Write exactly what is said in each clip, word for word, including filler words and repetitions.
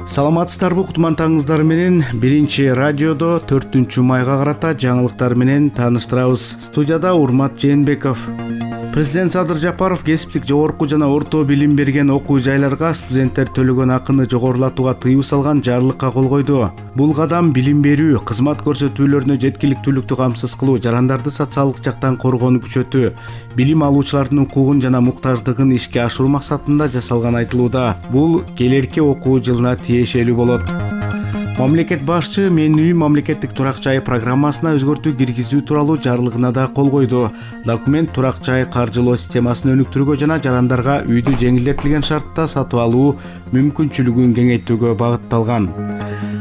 Саламатсыздарбы, кутмандарыңыздар менен биринчи радиодо төртүнчү майга карата жаңылыктар менен тааныштырабыз. Студияда Урмат Жээнбеков. Президент Садыр Жапаров кесиптик жогорку жана орто билим берген окуу жайларга студенттер төлөгөн акыны жогорулатууга тыюу салган жарлыкка кол койду. Бул кадам билим берүү, кызмат көрсөтүүлөрүнө жеткиликтүүлүктү камсыз кылуу, жарандарды социалдык жактан коргоону күчөтүү, билим алуучулардын укугун жана муктаждыгын ишке ашыруу максатында жасалган айтылууда. Бул келерки окуу жылына тиешелүү болот. Мамлекет башчы Мен үйүм мамлекеттик турак жай программасына өзгөртүү киргизүү тууралуу жарлыгына да кол койду. Документ турак жай каржылоо системасын өнүктүрүүгө жана жарандарга үйдү жеңилдетилген шартта сатып алуу мүмкүнчүлүгүн кеңейтүүгө багытталган.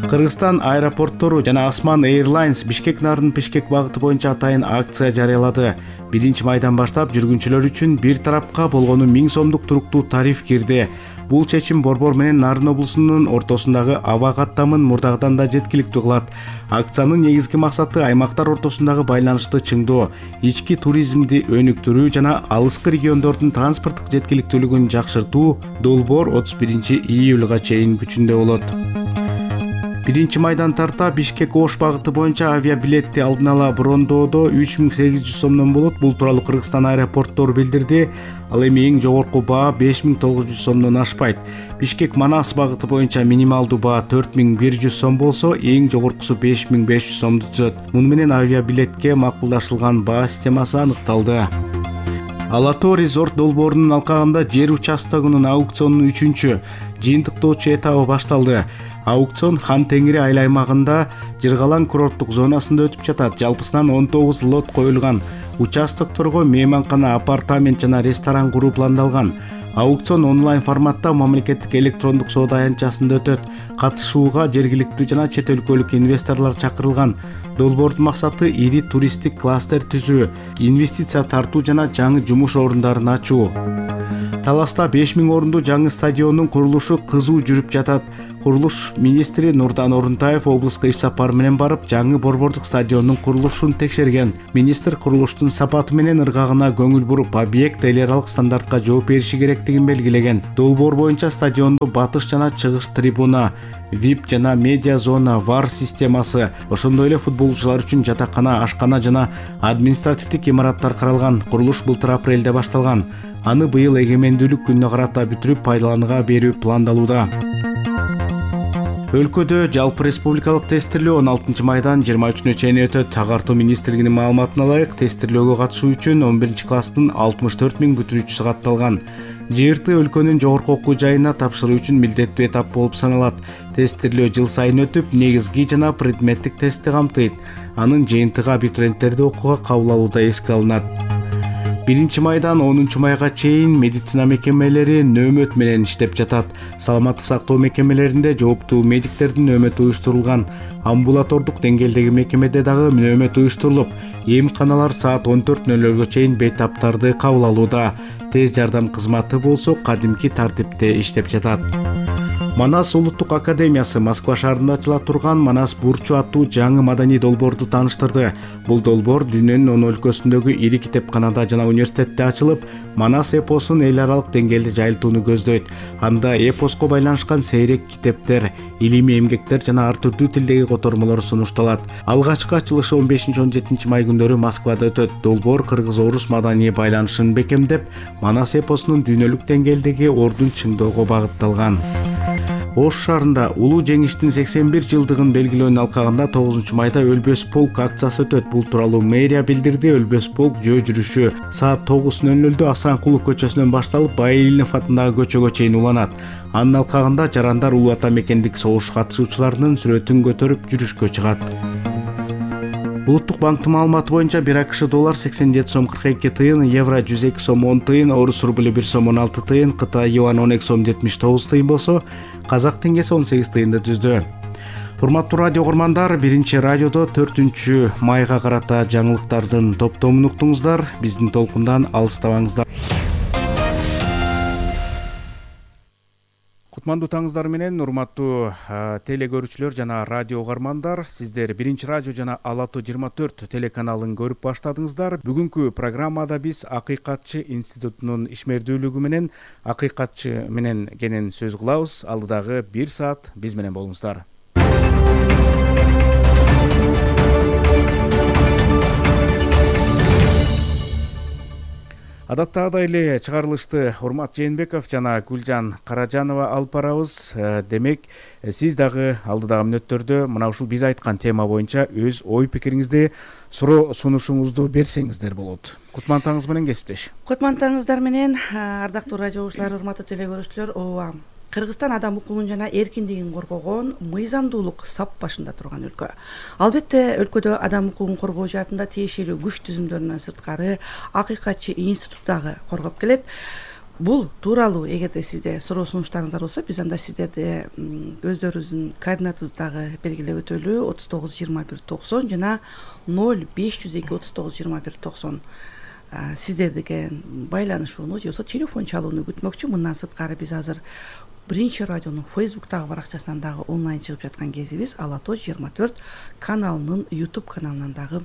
Кыргызстан аэропорттору жана Осман Airlines Бишкек Нарын Бишкек багыты боюнча атайын акция жарыялады. биринчи майдан баштап жүргүнчүлөр үчүн бир тарапка болгону миң сомдук туруктуу тариф кирди. Бул чечим Борбор менен Нарын облусунун ортосундагы аба каттамын мурдагыдан да жеткиликтүү кылат. Акциянын негизги максаты аймактар ортосундагы байланышты чыңдоо, ички туризмди өнүктүрүү жана алыскы региондордун транспорттук жеткиликтүүлүгүн жакшыртуу. Долбоор отуз биринчи июлга чейин күчүндө болот. Биринчи майдан тарта Бишкек Ош багыты боюнча авиабилетти алдын ала брондоодо үч миң сегиз жүз сомдон болот. Бул тууралуу Кыргызстан аэропорттору билдирди. Ал эми эң жогорку баа беш миң тогуз жүз сомдон ашпайт. Бишкек Манас багыты боюнча минималдуу баа төрт миң бир жүз сом болсо, эң жогоркусу беш миң беш жүз сомду түзөт. Муну менен авиабилетке макулдашылган баа системасы аныкталды. Ала Тоо резорт долбоорунун алкагында жер участогунун аукционунун үчүнчү жыйынтыктоочу этабы башталды. Аукцион Хан Теңири айыл аймагында Жыргалаң курорттук зонасында өтүп жатат. Жалпысынан он тогуз лот коюлган. Участокторго мейманкана, апартамент жана ресторан куруу пландалган. Аукцион онлайн форматта мамлекеттик электрондук соода аянтчасында өтөт. Катышууга жергиликтүү жана чет өлкөлүк инвесторлор чакырылган. Долбоордун максаты ири туристтик кластер түзүү, инвестиция тартуу жана жаңы жумуш орундарын ачуу. Таласта беш миң орунду жаңы стадиондун курулушу кызуу жүрүп жатат. Курулуш министри Нурдан Орунтаев облуска иш сапары менен барып, жаңы борбордук стадиондун курулушун текшерген. Министр курулуштун сапаты менен ыргагына көңүл буруп, объект эл аралык стандартка жооп бериши керектигин белгилеген. Долбоор боюнча стадиондо батыш жана чыгыш трибуна, вип жана медиа зона, вар системасы, ошондой эле футболчулар үчүн жатакана, ашкана жана административдик имараттар каралган. Курулуш былтыр апрелде башталган. Аны быйыл эгемендүүлүк күнүнө карата бүтүрүп пайдаланууга берүү пландалууда. Өлкөдө жалпы республикалык тестирлөө он алтынчы майдан жыйырма үчүнө чейин өтөт. Агартуу министрлигинин маалыматына ылайык, тестирлөөгө катышуу үчүн он биринчи класстын алтымыш төрт миң бүтүрүүчүсү катталган. ЖРТ өлкөнүн жогорку окуу жайына тапшыруу үчүн милдеттүү этап болуп саналат. Тестирлөө жыл сайын өтүп, негизги жана предметтик тестти камтыйт. Анын жыйынтыгы абитуриенттерди окууга кабыл алууда эске алынат. биринчи майдан онунчу майга чейин медицина мекемелери нөөмөт менен иштеп жатат. Саламаттык сактоо мекемелеринде жооптуу медиктердин нөөмөтү уюштурулган. Амбулатордук деңгээлдеги мекемеде дагы нөөмөт уюштурулуп, эмканалар саат он төрт нөл нөлгө чейин бейтаптарды кабыл алууда. Тез жардам кызматы болсо кадимки тартипте иштеп жатат. Манас улуттук академиясы Москва шаарында ачыла турган Манас бурчу аттуу жаңы маданий долбоорду тааныштырды. Бул долбоор дүйнөнүн он өлкөсүндөгү ири китепканада жана университетте ачылып, Манас эпосун эл аралык деңгээлде жайылтууну көздөйт. Анда эпоско байланышкан сейрек китептер, илимий эмгектер жана ар түрдүү тилдеги котормолор сунушталат. Алгачкы ачылышы он бешинчи он жетинчи май күндөрү Москвада өтөт. Долбоор кыргыз-орус маданий байланышын бекемдеп, Манас эпосунун дүйнөлүк деңгээлдеги ордун чыңдоого багытталган. Ош шаарында улуу жеңиштин сексен бир жылдыгын белгилөөнүн алкагында тогузунчу майда Өлбөс полк акциясы өтөт. Бул тууралуу мэрия билдирди. Өлбөс полк жөө жүрүшү саат тогуз нөл нөлдө Асранкулов көчөсүнөн башталып, Байилинов атындагы көчөгө чейин уланат. Анын алкагында жарандар улуу ата мекендик согуш катышуучуларынын сүрөтүн көтөрүп жүрүшкө чыгат. Улуттук банктын маалыматы боюнча бир АКШ доллар сексен жети сом кырк эки тыйын, евро жүз эки сом он тыйын, орус рублю бир сом он алты тыйын, Кытай юань он эки сом жетимиш тогуз тыйын болсо, казак теңгеси он сегиз тыйынды түздү. Урматтуу радио угармандар, биринчи радиодо төртүнчү майга карата жаңылыктардын топтомун уктуңуздар. Биздин толкундан алыстабаңыздар. Кутмандуу таңыңыздар менен урматтуу теле көрүүчүлөр жана радио угармандар, сиздер биринчи радио жана Ала тоо жыйырма төрт телеканалын көрүп баштадыңыздар. Бүгүнкү программада биз Акыйкатчы институтунун ишмердүүлүгү менен акыйкатчы менен кенен сөз кылабыз. Алдыдагы бир саат биз менен болуңуздар. Адаттагыдай эле чыгарылышты Урмат Жээнбеков жана Гүлжан Каражанова алып барабыз. Демек, сиз дагы алдыдагы мүнөттөрдө мына ушул биз айткан тема боюнча өз ой пикириңизди, суроо сунушуңузду берсеңиздер болот. Кутмантаңыз менен кесиптеш. Кутмантаңыздар менен ардактуу радио угуучулар, урматтуу теле көрүүчүлөр, ооба. Кыргызстан адам укугун жана эркиндигин коргогон мыйзамдуулук сап башында турган өлкө. Албетте, өлкөдө адам укугун коргоо жаатында тиешелүү күч түзүмдөрүнөн сырткары Акыйкатчы институт дагы коргоп келет. Бул тууралуу эгерде сизде суроо сунуштарыңыздар болсо, биз анда сиздерди өздөрүңүздүн координатыңыздагы белгилеп өтөлүү отуз тогуз жыйырма бир токсон жана ноль беш жүз эки отуз тогуз жыйырма бир токсон сиздердике байланышууну же болбосо телефон чалууну күтмөкчү. Мындан сырткары биз азыр биринчи радионун Фейсбуктагы баракчасынан дагы онлайн чыгып жаткан кезибиз Ала тоо жыйырма төрт каналынын YouTube каналынан дагы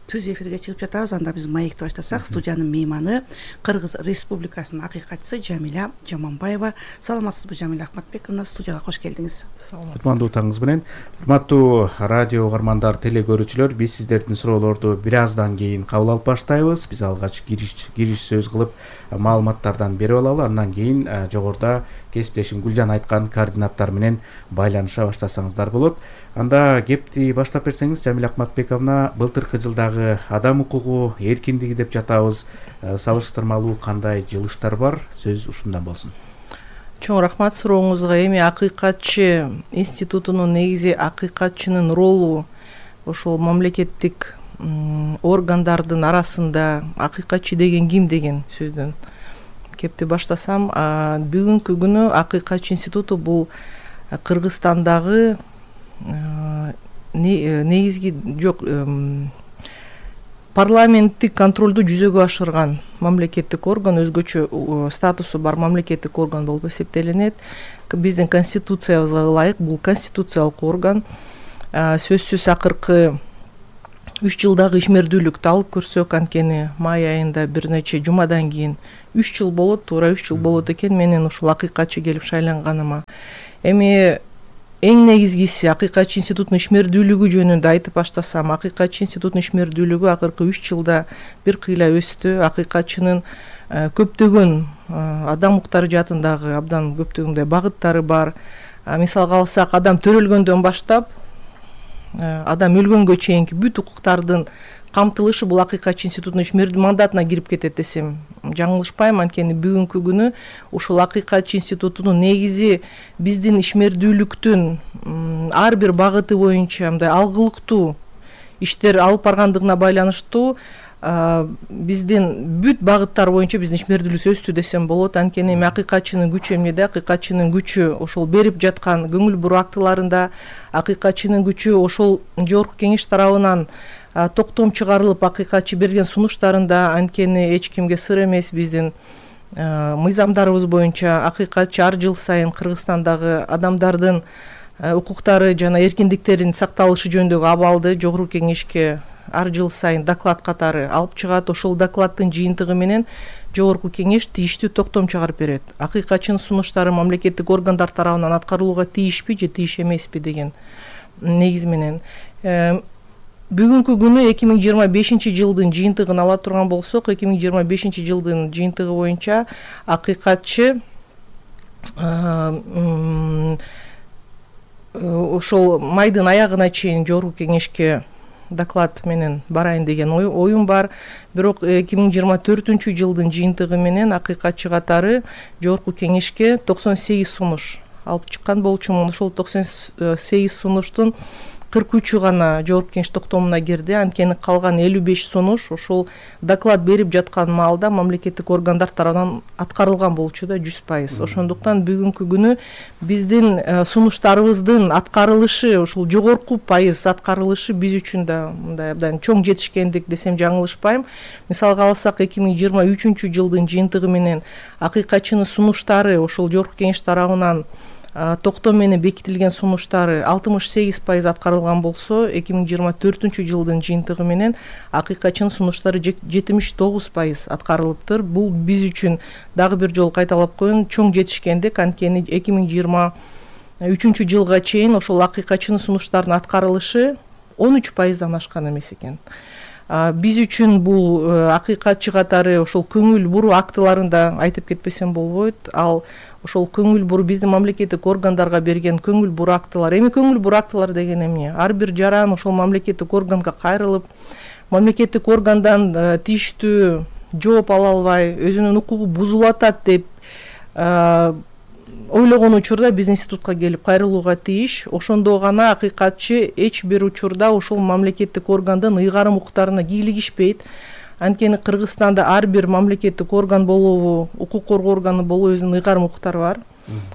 түз эфирге чыгып жатабыз. Анда биз маекти баштасак, студиянын мейманы Кыргыз Республикасынын акыйкатчысы Жамиля Жаманбаева. Саламатсызбы, Жамиля Ахматбековна? Студияга кош келдиңиз. Кутмандуу таңыңыз менен. Урматтуу радио угармандар, теле көрүүчүлөр, биз сиздердин суроолорду бир аздан кийин кабыл алып баштайбыз. Биз алгач кириш кириш сөз кылып маалыматтардан берип алалы. Андан кийин жогоруда кесиптешим Гүлжан айткан координаттар менен байланыша баштасаңыздар болот. Анда кепти баштап берсеңиз, Жамиля Ахматбековна, былтыркы жылдагы адам укугу эркиндиги деп жатабыз. Салыштырмалуу кандай жылыштар бар? Сөз ушундан болсун. Чоң рахмат сурооңузга. Эми Акыйкатчы институтунун негизи акыйкатчынын ролу ошол мамлекеттик органдардын арасында акыйкатчы деген ким деген сөздөн кепти баштасам, бүгүнкү күнү Акыйкатчы институту бул Кыргызстандагы негизги жок парламенттик контролду жүзөгө ашырган мамлекеттик орган, өзгөчө статусу бар мамлекеттик орган болуп эсептелинет. Биздин конституциябызга ылайык бул конституциялык орган. Сөзсүз акыркы үч жылдагы ишмердүүлүктү алып көрсөк, анткени май айында бир нече жумадан кийин үч жыл болот, туура үч жыл болот экен менин ушул акыйкатчы келип шайланганыма. Эми эң негизгиси Акыйкатчы институтунун ишмердүүлүгү жөнүндө айтып баштасам, Акыйкатчы институтунун ишмердүүлүгү акыркы үч жылда бир кыйла өстү. Акыйкатчынын көптөгөн адам укуктары жаатындагы абдан көптөгөндөй багыттары бар. Мисалга алсак, адам төрөлгөндөн баштап адам өлгөнгө чейинки бүт укуктардын камтылышы бул Акыйкатчы институтунун ишмердүү мандатына кирип кетет десем жаңылышпайм. Анткени бүгүнкү күнү ушул Акыйкатчы институтунун негизи биздин ишмердүүлүктүн ар бир багыты боюнча мындай алгылыктуу иштер алып баргандыгына байланыштуу биздин бүт багыттар боюнча биздин ишмердүүлүгүбүз өстү десем болот. Анткени эми акыйкатчынын күчү эмнеде? Акыйкатчынын күчү ошол берип жаткан көңүл буруу актыларында, акыйкатчынын күчү ошол жогорку кеңеш тарабынан токтом чыгарылып акыйкатчы берген сунуштарында. Анткени эч кимге сыр эмес, биздин мыйзамдарыбыз боюнча акыйкатчы ар жыл сайын Кыргызстандагы адамдардын укуктары жана эркиндиктеринин сакталышы жөнүндөгү абалды жогорку кеңешке ар жыл сайын доклад катары алып чыгат. Ошол докладдын жыйынтыгы менен жогорку кеңеш тийиштүү токтом чыгарып берет. Акыйкатчынын сунуштары мамлекеттик органдар тарабынан аткарылууга тийишпи же тийиш эмеспи деген негиз менен. Бүгүнкү күнү эки миң жыйырма бешинчи жылдын жыйынтыгын ала турган болсок, эки миң жыйырма бешинчи жылдын жыйынтыгы боюнча акыйкатчы ошол майдын аягына чейин жогорку кеңешке доклад менен барайын деген оюм бар. Бирок эки миң жыйырма төртүнчү жылдын жыйынтыгы менен акыйкатчы катары жогорку кеңешке токсон сегиз сунуш алып чыккан болчумун. Ошол токсон сегиз сунуштун кырк үчү гана жогорку кеңеш токтомуна кирди. Анткени калган элүү беш сунуш ошол доклад берип жаткан маалда мамлекеттик органдар тарабынан аткарылган болчу да жүз пайыз. Ошондуктан бүгүнкү күнү биздин сунуштарыбыздын аткарылышы, ошол жогорку пайыз аткарылышы биз үчүн да мындай абдан чоң жетишкендик десем жаңылышпайм. Мисалга алсак, эки миң жыйырма үчүнчү жылдын жыйынтыгы менен акыйкатчынын сунуштары ошол жогорку кеңеш тарабынан токтом менен бекитилген сунуштары алтымыш сегиз пайыз аткарылган болсо, эки миң жыйырма төртүнчү жылдын жыйынтыгы менен акыйкатчынын сунуштары жетимиш тогуз пайыз аткарылыптыр. Бул биз үчүн дагы бир жолу кайталап коеюн, чоң жетишкендик. Анткени эки миң жыйырма үчүнчү жылга чейин ошол акыйкатчынын сунуштарынын аткарылышы он үч пайыздан ашкан эмес экен. Биз үчүн бул акыйкатчы катары ошол көңүл буруу актыларында айтып кетпесем болбойт. Ал ошол көңүл буруу биздин мамлекеттик органдарга берген көңүл буруу актылар. Эми көңүл буруу актылар деген эмне? Ар бир жаран ошол мамлекеттик органга кайрылып, мамлекеттик органдан тийиштүү жооп ала албай, өзүнүн укугу бузулуп атат деп ойлогон учурда биз институтка келип кайрылууга тийиш. Ошондо гана акыйкатчы эч бир учурда ошол мамлекеттик органдын ыйгарым укуктарына кийлигишпейт. Анткени Кыргызстанда ар бир мамлекеттик орган болобу, укук коргоо органы болобу өзүнүн ыйгарым укуктары бар.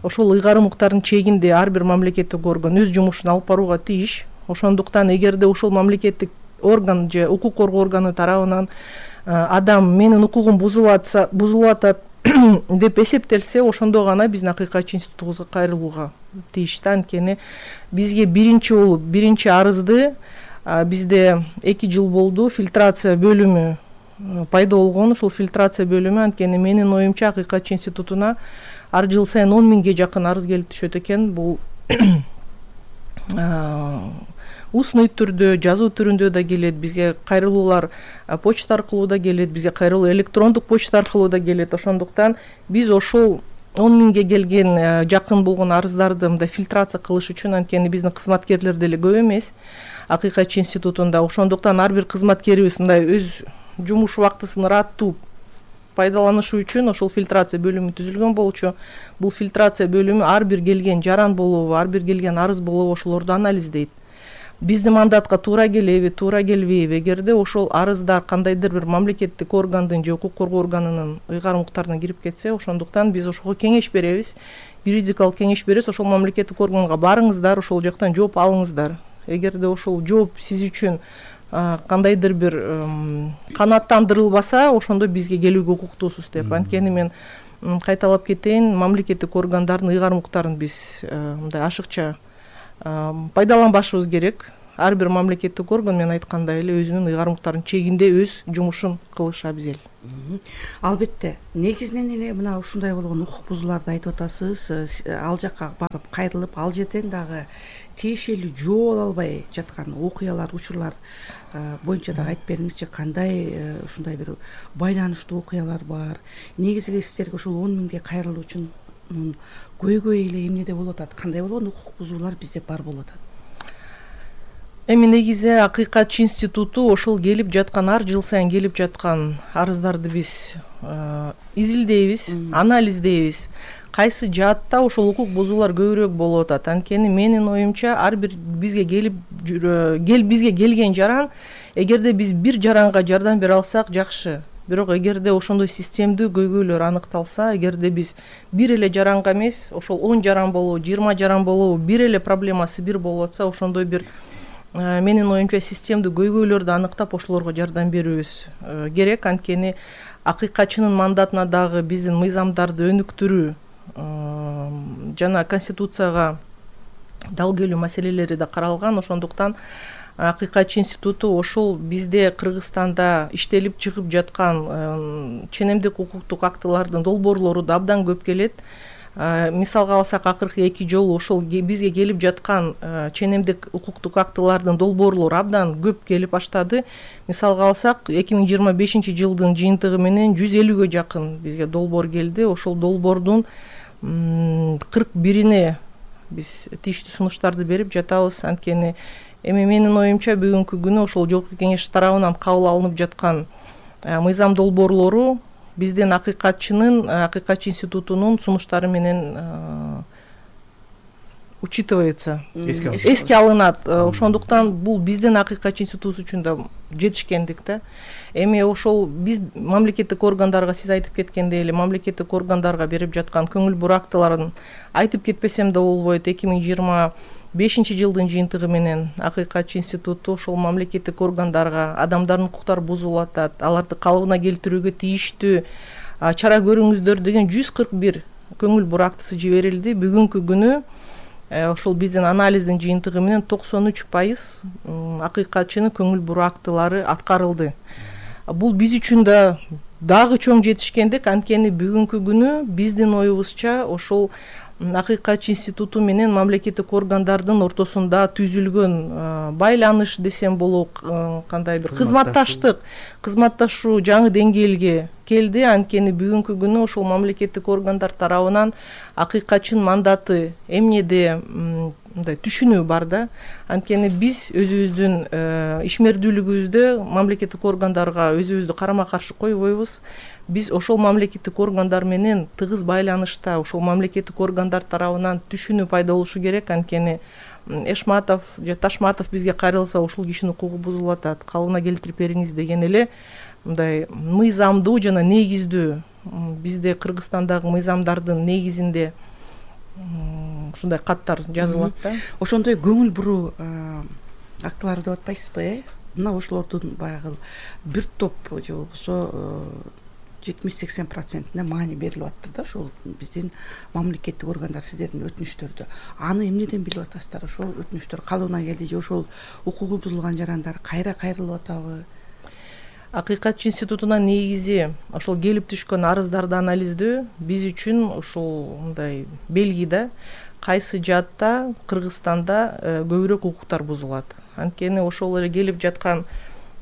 Ошол ыйгарым укуктардын чегинде ар бир мамлекеттик орган өз жумушун алып барууга тийиш. Ошондуктан эгерде ошол мамлекеттик орган же укук коргоо органы тарабынан адам менин укугум бузулатса, бузулуп атат деп эсептелсе, ошондо гана биздин акыйкатчы институтубузга кайрылууга тийиш. Анткени бизге биринчи болуп, биринчи арызды бизде эки жыл болду фильтрация бөлүмү пайда болгон. Ошол фильтрация бөлүмү, анткени менин оюмча, акыйкатчы институтуна ар жыл сайын он миңге жакын арыз келип түшөт экен. Бул устный түрдө, жазуу түрүндө да келет, бизге кайрылуулар почта аркылуу да келет, бизге кайрылуу электрондук почта аркылуу да келет. Ошондуктан биз ошол он миңге келген жакын болгон арыздарды мындай фильтрация кылыш үчүн, анткени биздин кызматкерлер деле көп эмес акыйкатчы институтунда. Ошондуктан ар бир кызматкерибиз мындай өз жумуш убактысын ыраттуу пайдаланышы үчүн ошол фильтрация бөлүмү түзүлгөн болчу. Бул фильтрация бөлүмү ар бир келген жаран болобу, ар бир келген арыз болобу ошолорду анализдейт. Биздин мандатка туура келеби, туура келбейби? Эгерде ошол арыздар кандайдыр бир мамлекеттик органдын же укук коргоо органынын ыйгарым укуктарына кирип кетсе, ошондуктан биз ошого кеңеш беребиз, юридикалык кеңеш беребиз. Ошол мамлекеттик органга барыңыздар, ошол жактан жооп алыңыздар. Эгерде ошол жооп сиз үчүн кандайдыр бир канааттандырылбаса, ошондо бизге келүүгө укуктуусуз деп. Анткени мен кайталап кетейин, мамлекеттик органдардын ыйгарым укуктарын биз мындай ашыкча пайдаланбашыбыз керек. Ар бир мамлекеттик орган, мен айткандай эле, өзүнүн ыйгарым укуктарынын чегинде өз жумушун кылышы абзел. Албетте, негизинен эле мына ушундай болгон укук бузууларды айтып атасыз. Ал жакка барып кайрылып, ал жерден дагы тиешелүү жооп ала албай жаткан окуялар, учурлар боюнча дагы айтып бериңизчи, кандай ушундай бир байланыштуу окуялар бар? Негизи эле сиздерге ошол он миңге кайрылуучунун көйгөйү эле эмнеде болуп атат? Кандай болгон укук бузуулар бизде бар болуп атат? Эми негизи акыйкатчы институту ошол келип жаткан, ар жыл сайын келип жаткан арыздарды биз изилдейбиз, анализдейбиз. Кайсы жаатта ошол укук бузуулар көбүрөөк болуп атат? Анткени менин оюмча, ар бир бизге келип кел бизге келген жаран, эгерде биз бир жаранга жардам бере алсак жакшы. Бирок эгерде ошондой системдүү көйгөйлөр аныкталса, эгерде биз бир эле жаранга эмес, ошол он жаран болобу, жыйырма жаран болобу, бир эле проблемасы бир болуп атса, ошондой бир менин оюмча системдүү көйгөйлөрдү аныктап ошолорго жардам берүүбүз керек. Анткени акыйкатчынын мандатына дагы биздин мыйзамдарды өнүктүрүү жана конституцияга дал келүү маселелери да каралган. Ошондуктан акыйкатчы институту ошол бизде Кыргызстанда иштелип чыгып жаткан ченемдик укуктук актылардын долбоорлору да абдан көп келет. Мисалга алсак, акыркы эки жолу ошол бизге келип жаткан ченемдик укуктук актылардын долбоорлору абдан көп келип баштады. Мисалга алсак, эки миң жыйырма бешинчи жылдын жыйынтыгы менен жүз элүүгө жакын бизге долбоор келди. Ошол долбоордун кырк бирине биз тийиштүү сунуштарды берип жатабыз. Анткени эми менин оюмча бүгүнкү күнү ошол жогорку кеңеш тарабынан кабыл алынып жаткан мыйзам долбоорлору биздин акыйкатчынын, акыйкатчы институтунун сунуштары менен учитывается, эске алынат. Ошондуктан бул биздин акыйкатчы институтубуз үчүн да жетишкендик да. Эми ошол биз мамлекеттик органдарга, сиз айтып кеткендей эле, мамлекеттик органдарга берип жаткан көңүл буруу актыларын айтып кетпесем да болбойт. эки миң жыйырма бешинчи жылдын жыйынтыгы менен акыйкатчы институту ошол мамлекеттик органдарга адамдардын укуктары бузулуп атат, аларды калыбына келтирүүгө тийиштүү чара көрүңүздөр деген жүз кырк бир көңүл бурактысы жиберилди. Бүгүнкү күнү ошол биздин анализдин жыйынтыгы менен токсон үч пайыз акыйкатчынын көңүл бурактылары аткарылды. Бул биз үчүн да дагы чоң жетишкендик. Анткени бүгүнкү күнү биздин оюбузча ошол акыйкатчы институту менен мамлекеттик органдардын ортосунда түзүлгөн байланыш десем болот, кандай бир кызматташтык кызматташуу жаңы деңгээлге келди. Анткени бүгүнкү күнү ошол мамлекеттик органдар тарабынан акыйкатчынын мандаты эмнеде мындай түшүнүү бар да. Анткени биз өзүбүздүн ишмердүүлүгүбүздө мамлекеттик органдарга өзүбүздү карама каршы койбойбуз. Биз ошол мамлекеттик органдар менен тыгыз байланышта, ошол мамлекеттик органдар тарабынан түшүнүү пайда болушу керек. Анткени Эшматов же Ташматов бизге кайрылса ушул кишинин укугу бузулуп атат, калыбына келтирип бериңиз деген эле мындай мыйзамдуу жана негиздүү, бизде Кыргызстандагы мыйзамдардын негизинде ушундай каттар жазылат да. Ошондой көңүл буруу актылары деп атпайсызбы, э? Мына ошолордун баягы бир топ же болбосо жетимиш сексен процентине маани берилип атты да, ошол биздин мамлекеттик органдар сиздердин өтүнүчтөрдө. Аны эмнеден билип атасыздар? Ошол өтүнүчтөр калыбына келди же ошол укугу бузулган жарандар кайра кайрылып атабы? Акыйкатчы институтуна негизи ошол келип түшкөн арыздарды анализдөө биз үчүн ошол мындай белги да, кайсы жаатта Кыргызстанда көбүрөөк укуктар бузулат. Анткени ошол эле келип жаткан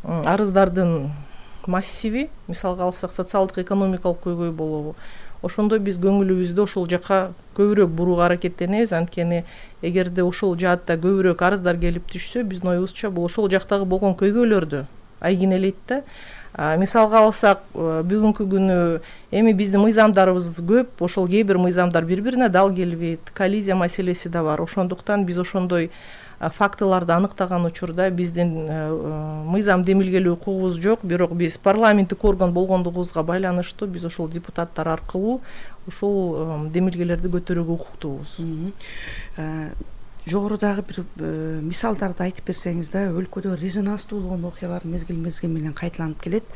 арыздардын массиви, мисалга алсак, социалдык экономикалык көйгөй болобу, ошондо биз көңүлүбүздү ошол жака көбүрөөк бурууга аракеттенебиз. Анткени эгерде ошол жаатта көбүрөөк арыздар келип түшсө, биздин оюбузча бул ошол жактагы болгон көйгөйлөрдү айгинелейт да. Мисалга алсак, бүгүнкү күнү эми биздин мыйзамдарыбыз көп, ошол кээ бир мыйзамдар бири-бирине дал келбейт, коллизия маселеси да бар. Ошондуктан биз ошондой фактыларды аныктаган учурда биздин мыйзам демилгелөө укугубуз жок, бирок биз парламенттик орган болгондугубузга байланыштуу биз ошол депутаттар аркылуу ушул демилгелерди көтөрүүгө укуктуубуз. Жогорудагы бир мисалдарды айтып берсеңиз да, өлкөдө резонанстуу болгон окуялар мезгил мезгил менен кайталанып келет.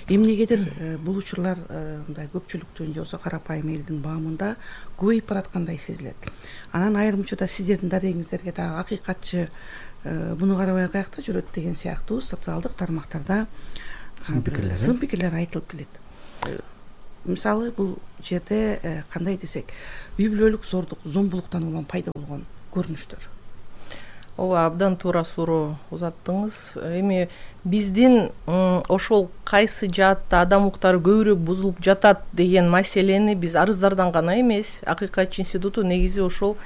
Эмнегедир бул учурлар мындай көпчүлүктүн же болбосо карапайым элдин баамында көбөйүп бараткандай сезилет. Анан айрым учурда сиздердин дарегиңиздерге дагы акыйкатчы муну карабай каякта жүрөт деген сыяктуу социалдык тармактарда сын пикирлер айтылып келет. Мисалы бул жерде кандай десек, үй бүлөлүк зордук, зомбулуктан улам пайда болгон көрүнүштөр. Ооба, абдан туура суроо узаттыңыз. Эми биздин ошол кайсы жаатта адам укуктары көбүрөөк бузулуп жатат деген маселени биз арыздардан гана эмес, Акыйкатчы институту негизи ошол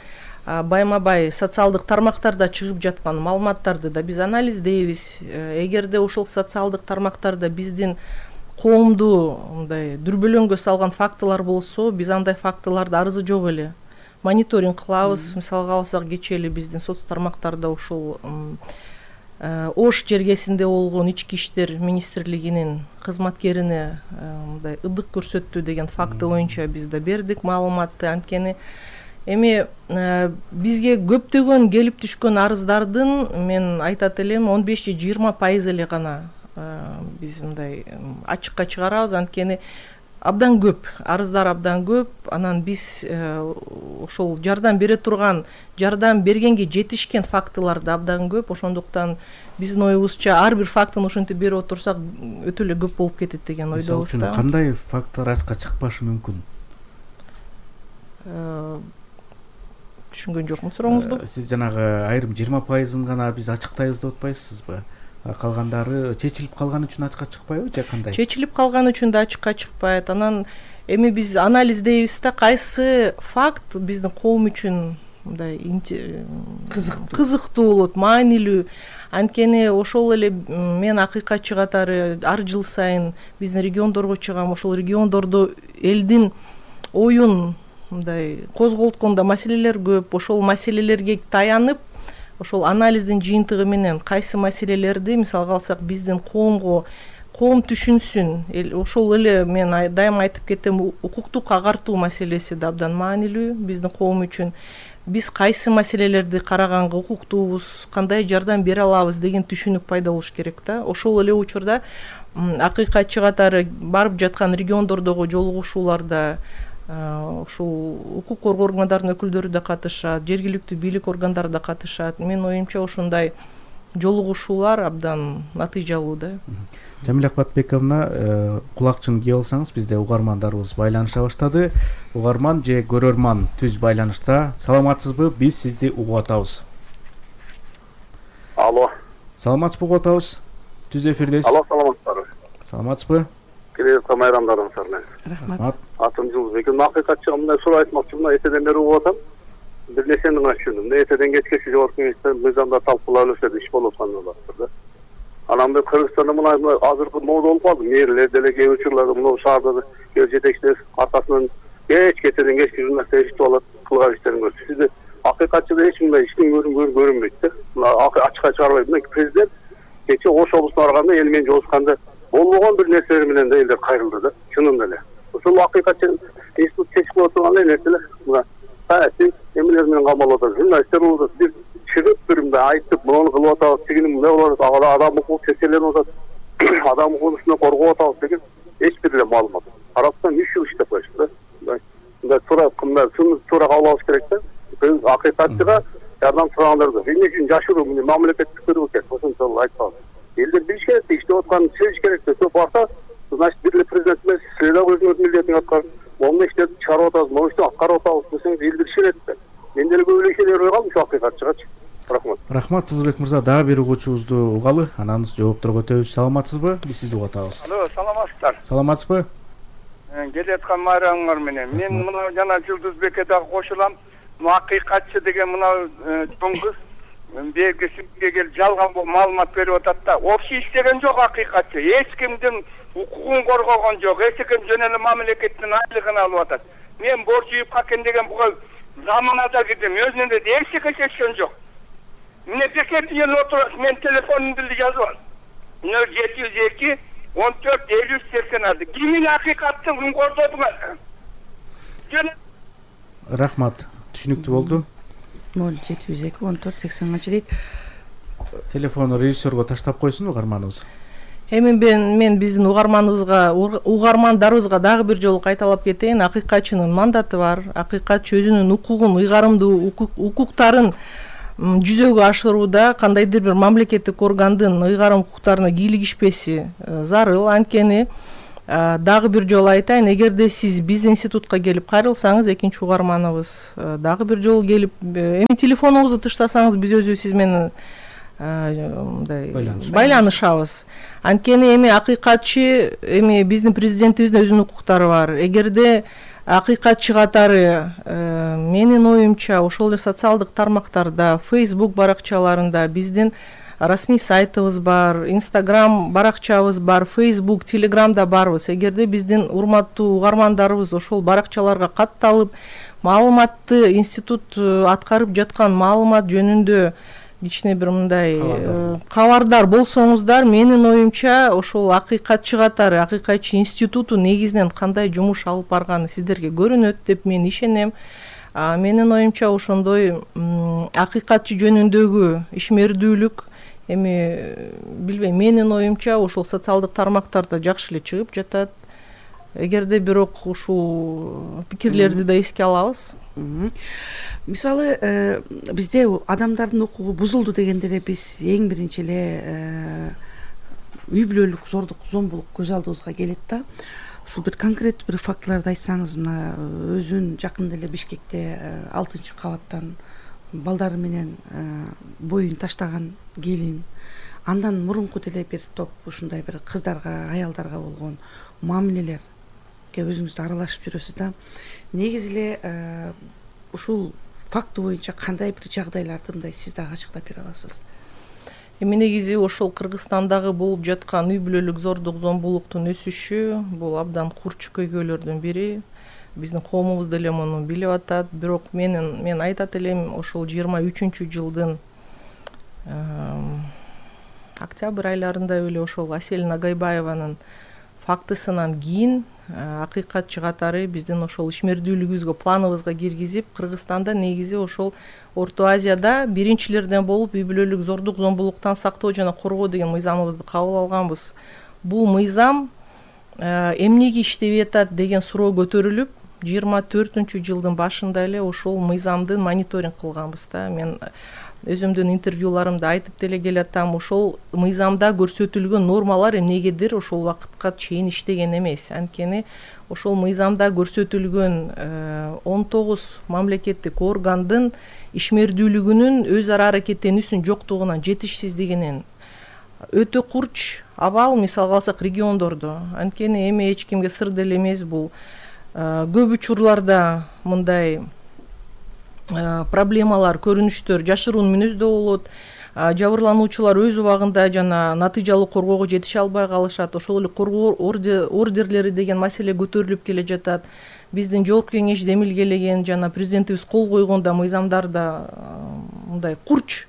байма-бай социалдык тармактарда чыгып жаткан маалыматтарды да биз анализдейбиз. Эгерде ошол социалдык тармактарда биздин коомду мындай дүрбөлөңгө салган фактылар болсо, биз андай фактыларды арызы жок эле мониторинг кылабыз. Мисалга алсак, кечээ эле биздин соц тармактарда ушул Ош жергесинде болгон ички иштер министрлигинин кызматкерине мындай ыдык көрсөттү деген факты боюнча биз да бердик маалыматты. Анткени эми бизге көптөгөн келип түшкөн арыздардын мен айтат элем он беш же жыйырма пайыз эле гана биз мындай ачыкка чыгарабыз. Анткени абдан көп арыздар, абдан көп. Анан биз ошол жардам бере турган, жардам бергенге жетишкен фактылар да абдан көп. Ошондуктан биздин оюбузча ар бир фактын ошентип берип отурсак өтө эле көп болуп кетет деген ойдобуз да. Кандай факттар ачыкка чыкпашы мүмкүн? Түшүнгөн жокмун сурооңузду. Сиз жанагы айрым жыйырма пайызын гана биз ачыктайбыз деп атпайсызбы? Калгандары чечилип калган үчүн ачыкка чыкпайбы же кандай? Чечилип калган үчүн да ачыкка чыкпайт. Анан эми биз анализдейбиз да, кайсы факт биздин коом үчүн мындай кызыктуу кызыктуу болот, маанилүү. Анткени ошол эле мен акыйкатчы катары ар жыл сайын биздин региондорго чыгам. Ошол региондордо элдин оюн мындай козголткондо маселелер көп. Ошол маселелерге таянып, ошол анализдин жыйынтыгы менен кайсы маселелерди, мисалга алсак, биздин коомго коом түшүнсүн. Ошол эле мен дайыма айтып кетем, укуктук агартуу маселеси да абдан маанилүү биздин коом үчүн. Биз кайсы маселелерди караганга укуктуубуз, кандай жардам бере алабыз деген түшүнүк пайда болуш керек да. Ошол эле учурда акыйкатчы катары барып жаткан региондордогу жолугушууларда ушул укук коргоо органдарынын өкүлдөрү да катышат, жергиликтүү бийлик органдары да катышат. Менин оюмча ушундай жолугушуулар абдан натыйжалуу да. Жамиля Акбатбековна, кулакчын кийип алсаңыз, бизде угармандарыбыз байланыша баштады. Угарман же көрөрман түз байланышта. Саламатсызбы? Биз сизди угуп атабыз. Алло. Саламатсызбы, угуп атабыз. Түз эфирдесиз. Алло, саламатсызбы? Саламатсызбы? Келе майрамдарыңыздар. Рахмат. Атым Жылбек. Акыйкатчыга мындай суроо айтмакчы, мына этеден бери угуп атам. Бир нерсени гана түшүндүм. Этеден кечкечи жогорку кеңеште мыйзамда талкуулап эле иш болуп аткан болот да. Анан бир Кыргызстанда мына азыркы мода болуп калды. Мэрлер деле кээ учурларда мына шаарда кээ жетекчилер аркасынан кеч кетеден кечке журналистер эшитип алат, кылган иштерин көрсөтүп. Сизде акыйкатчыда эч мындай иштин көрүнбөйт да. Мына ачыкка чыгарбайт. Мына президент кече Ош облусуна барганда эл менен жолукканда болбогон бир нерселер менен да элдер кайрылды да. Чынында эле. Ошол акыйкатчы институт чечип коюп турган нерселер мына саясий эмелер менен камалып атат. Журналисттер болот. Бир чыгып бир мындай айтып, муну кылып атабыз, тигини мындай болуп атат, адам укугун чечеленип атат, адам укугун коргоп атабыз деген эч бир эле маалымат. Карасам үч жыл иштеп коюшты да. Мындай туура кымдар, туура кабыл алыш керек да. Биз акыйкатчыга жардам сурагандарды эмне үчүн жашыруу муну мамлекеттик көрүү керек. Ошончолук айткан. Элдер билиш керек, иште атканын сезиш керек десе барса, значит бир эле президент эмес, сиз да өзүңүз милдетиңизди аткарып, мону иштеп чыгарып атабыз, мону иштеп аткарып атабыз десеңиз элдер ишенет да. Мен деле көп эле ишене бербей калдым ушу акыйкатчыгачы. Рахмат. Рахмат, Жылбек мырза. Дагы бир угуучубузду угалы, анан жоопторго өтөбүз. Саламатсызбы? Биз сизди угуп атабыз. Алло, саламатсыздар. Саламатсызбы? Келеаткан майрамыңар менен. Мен мына жана Жылдызбекке дагы кошулам. Мына акыйкатчы деген мына чоң кыз бергисиге келип жалган маалымат берип атат да. Общий иштеген жок акыйкатчы. Эч кимдин укугун коргогон жок. Эч ким жөн эле мамлекеттин айлыгын алып атат. Мен борчу үйүп калган деген буга заманада кирдим. Өзүнөн эле эч нерсе чечкен жок. Міне бекет ел отырып, мен телефонымды жазып ал. нөл жети жүз эки он төрт элүү үч сексен алты. Кимин акыйкаттын күн кордодуңар? Рахмат. Түшүнүктүү болду. нөл жети жүз эки он төрт сексен алты дейт. Телефону режиссерго таштап койсун угарманыбыз. Эми мен мен биздин угарманыбызга, угармандарыбызга дагы бир жолу кайталап кетейин. Акыйкатчынын мандаты бар. Акыйкатчы өзүнүн укугун, ыйгарымдуу укуктарын жүзөгө ашырууда кандайдыр бир мамлекеттик органдын ыйгарым укуктарына кийлигишпеси зарыл. Анткени дагы бир жолу айтайын, эгерде сиз биздин институтка келип кайрылсаңыз, экинчи угарманыбыз дагы бир жолу келип, эми телефонуңузду тыштасаңыз, биз өзү сиз менен мындай байланышабыз. Анткени эми акыйкатчы, эми биздин президентибиздин өзүнүн укуктары бар. Эгерде акыйкатчы катары менин оюмча ошол эле социалдык тармактарда, Facebook баракчаларында биздин расмий сайтыбыз бар, Instagram баракчабыз бар, Facebook, Telegramда барбыз. Эгерде биздин урматтуу угармандарыбыз ошол баракчаларга катталып, маалыматты институт аткарып жаткан маалымат жөнүндө кичине бир мындай кабардар болсоңуздар, менин оюмча ошол акыйкатчы катары, акыйкатчы институту негизинен кандай жумуш алып барганы сиздерге көрүнөт деп мен ишенем. Менин оюмча ошондой акыйкатчы жөнүндөгү ишмердүүлүк эми билбейм, менин оюмча ошол социалдык тармактарда жакшы эле чыгып жатат. Эгерде бирок ушул пикирлерди да эске алабыз. Мисалы, бизде адамдардын укугу бузулду дегенде эле биз эң биринчи эле үй бүлөлүк зордук, зомбулук көз алдыбызга келет да. Ушул бир конкреттүү бир фактыларды айтсаңыз, мына өзүн жакында эле Бишкекте алтынчы кабаттан балдары менен боюн таштаган келин, андан мурунку деле бир топ ушундай бир кыздарга, аялдарга болгон мамилелерге өзүңүз аралашып жүрөсүз да. Негизи эле ушул факты боюнча кандай бир жагдайларды мындай сиз дагы ачыктап бере аласыз? Эми негизи ошол Кыргызстандагы болуп жаткан үй бүлөлүк зордук, зомбулуктун өсүшү бул абдан курч көйгөйлөрдүн бири. Биздин коомубуз деле муну билип атат. Бирок менин мен айтат элем, ошол жыйырма үчүнчү жылдын октябрь айларында эле ошол Асель Нагайбаеванын фактысынан кийин акыйкатчы катары биздин ошол ишмердүүлүгүбүзгө, планыбызга киргизип, Кыргызстанда негизи ошол Орто Азияда биринчилерден болуп үй бүлөлүк зордук, зомбулуктан сактоо жана коргоо деген мыйзамыбызды кабыл алганбыз. Бул мыйзам эмнеге иштебей атат деген суроо көтөрүлүп, жыйырма төртүнчү жылдын башында эле ошол мыйзамды мониторинг кылганбыз да. Мен өзүмдүн интервьюларымда айтып деле келатам, ошол мыйзамда көрсөтүлгөн нормалар эмнегедир ошол убакытка чейин иштеген эмес. Анткени ошол мыйзамда көрсөтүлгөн он тогуз мамлекеттик органдын ишмердүүлүгүнүн өз ара аракеттенүүсүнүн жоктугунан, жетишсиздигинен өтө курч абал, мисалга алсак региондордо. Анткени эми эч кимге сыр деле эмес, бул көп учурларда мындай проблемалар, көрүнүштөр жашыруун мүнөздө болот. Жабырлануучулар өз убагында жана натыйжалуу коргоого жетише албай калышат. Ошол эле коргоо ордерлери деген маселе көтөрүлүп келе жатат. Биздин жогорку кеңеш демилгелеген жана президентибиз кол койгондо мыйзамдарда мындай курч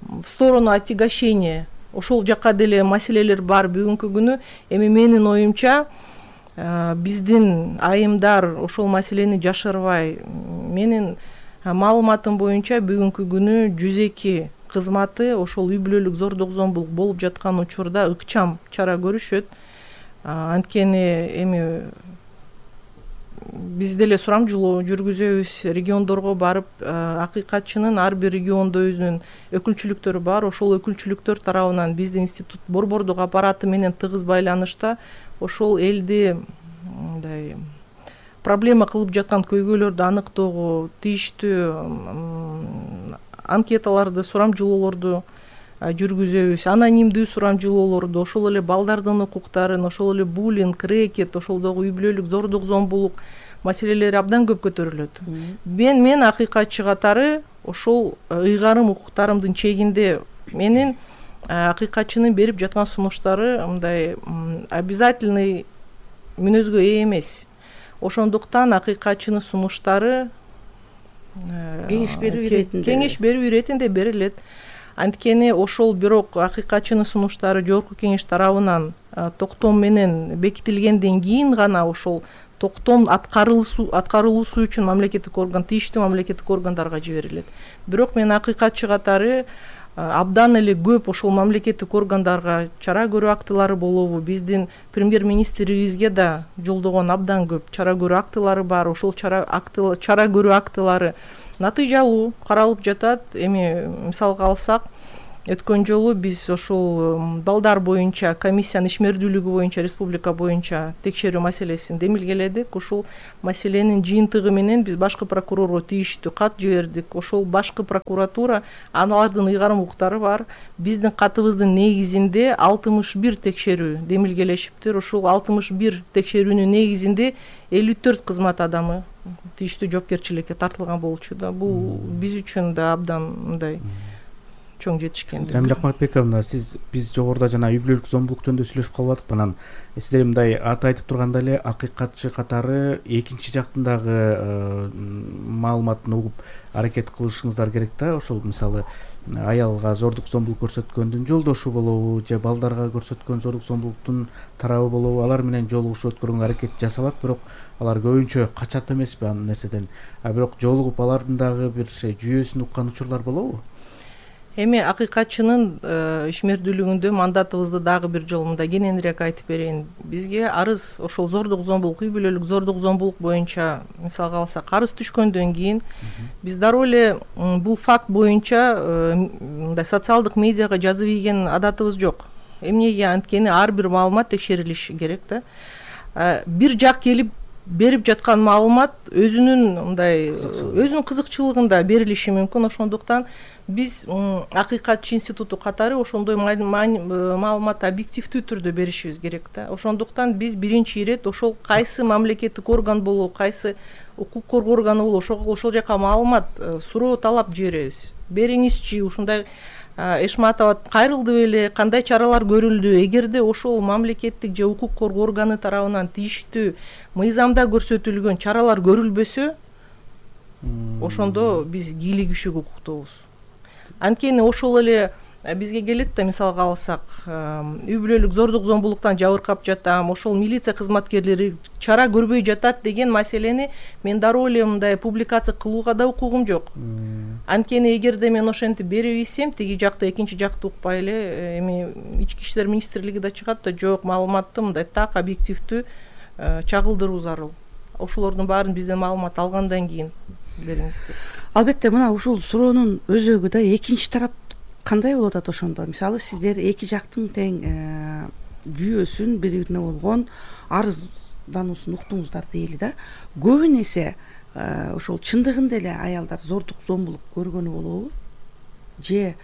в сторону отягощения ошол жакка деле маселелер бар бүгүнкү күнү. Эми менин оюмча биздин айымдар ошол маселени жашырбай, менин маалыматым боюнча бүгүнкү күнү жүз эки кызматы ошол үй бүлөлүк зордук зомбулук болуп жаткан учурда ыкчам чара көрүшөт. Анткени эми биз деле сурамжылоо жүргүзөбүз, региондорго барып, акыйкатчынын ар бир региондо өзүнүн өкүлчүлүктөрү бар. Ошол өкүлчүлүктөр тарабынан биздин институт борбордук аппараты менен тыгыз байланышта ошол элди мындай проблема кылып жаткан көйгөйлөрдү аныктоого, тийиштүү анкеталарды, сурамжылоолорду жүргүзөбүз, анонимдүү сурамжылоолорду, ошол эле балдардын укуктарын, ошол эле буллинг, рэкет, ошолдогу үй бүлөлүк зордук зомбулук маселелери абдан көп көтөрүлөт. Мен мен акыйкатчы катары ошол ыйгарым укуктарымдын чегинде менин акыйкатчынын берип жаткан сунуштары мындай обязательный мүнөзгө ээ эмес. Ошондуктан акыйкатчынын сунуштары кеңеш берүү иретинде кеңеш берүү иретинде берилет. Анткени ошол бирок акыйкатчынын сунуштары жогорку кеңеш тарабынан токтом менен бекитилгенден кийин гана ошол токтом аткарылуусу үчүн мамлекеттик орган, тийиштүү мамлекеттик органдарга жиберилет. Бирок мен акыйкатчы катары абдан эле көп ошол мамлекеттик органдарга чара көрүү актылары болобу, биздин премьер-министрибизге да жолдогон абдан көп чара көрүү актылары бар. Ошол чара акты чара көрүү актылары натыйжалуу каралып жатат. Эми мисалга алсак, өткөн жолу биз ошол балдар боюнча комиссиянын ишмердүүлүгү боюнча республика боюнча текшерүү маселесин демилгеледик. Ошол маселенин жыйынтыгы менен биз башкы прокурорго тийиштүү кат жибердик. Ошол башкы прокуратура, алардын ыйгарым укуктары бар. Биздин катыбыздын негизинде алтымыш бир текшерүү демилгелешиптир. Ошол алтымыш бир текшерүүнүн негизинде элүү төрт кызмат адамы тийиштүү жоопкерчиликке тартылган болчу да. Бул биз үчүн да абдан мындай чоң жетишкендик. Жамиля Акматбековна, сиз биз жогоруда жана үй бүлөлүк зомбулук жөнүндө сүйлөшүп калбадык. Анан сиздер мындай аты айтып турганда эле акыйкатчы катары экинчи жактын дагы маалыматын угуп аракет кылышыңыздар керек да. Ошол мисалы аялга зордук зомбулук көрсөткөндүн жолдошу болобу же балдарга көрсөткөн зордук зомбулуктун тарабы болобу, алар менен жолугушуп өткөргөнгө аракет жасалат, бирок алар көбүнчө качат эмеспи анын нерседен. А бирок жолугуп алардын дагы бир жүйөсүн уккан учурлар болобу? Эми акыйкатчынын ишмердүүлүгүндө мандатыбызды дагы бир жолу мындай кененирээк айтып берейин. Бизге арыз ошол зордук зомбулук, үй бүлөлүк зордук зомбулук боюнча мисалга алсак арыз түшкөндөн кийин биз дароо эле бул факт боюнча мындай социалдык медиага жазып ийген адатыбыз жок. Эмнеге? Анткени ар бир маалымат текшерилиши керек да. Бир жак келип берип жаткан маалымат өзүнүн мындай өзүнүн кызыкчылыгында берилиши мүмкүн. Ошондуктан биз акыйкатчы институту катары ошондой маалыматты объективдүү түрдө беришибиз керек да. Ошондуктан биз биринчи ирет ошол кайсы мамлекеттик орган болобу, кайсы укук коргоо органы болобу, ошол жака маалымат суроо талап жиберебиз. Бериңизчи, ушундай Эшматова кайрылды беле, кандай чаралар көрүлдү? Эгерде ошол мамлекеттик же укук коргоо органы тарабынан тийиштүү мыйзамда көрсөтүлгөн чаралар көрүлбөсө, ошондо биз кийлик күшүгө укуктуубуз. Анткени ошол эле бизге келет да, мисалга алсак, үй бүлөлүк зордук зомбулуктан жабыркап жатам, ошол милиция кызматкерлери чара көрбөй жатат деген маселени мен дароо эле мындай публикация кылууга да укугум жок. Анткени эгерде мен ошентип берип ийсем, тиги жакта экинчи жакты укпай эле эми ички иштер министрлиги да чыгат да, жок, маалыматты мындай так объективдүү чагылдыруу зарыл. ошолордун баарын бизден маалымат алгандан кийин бериңиз деп. Албетте мына ушул суроонун өзөгү да экинчи тарап кандай болуп атат ошондо? Мисалы сиздер эки жактын тең жүйөсүн, бири бирине болгон арыздануусун уктуңуздар дейли да. Көбүн эсе ошол чындыгында эле аялдар зордук зомбулук көргөнү болобу? Же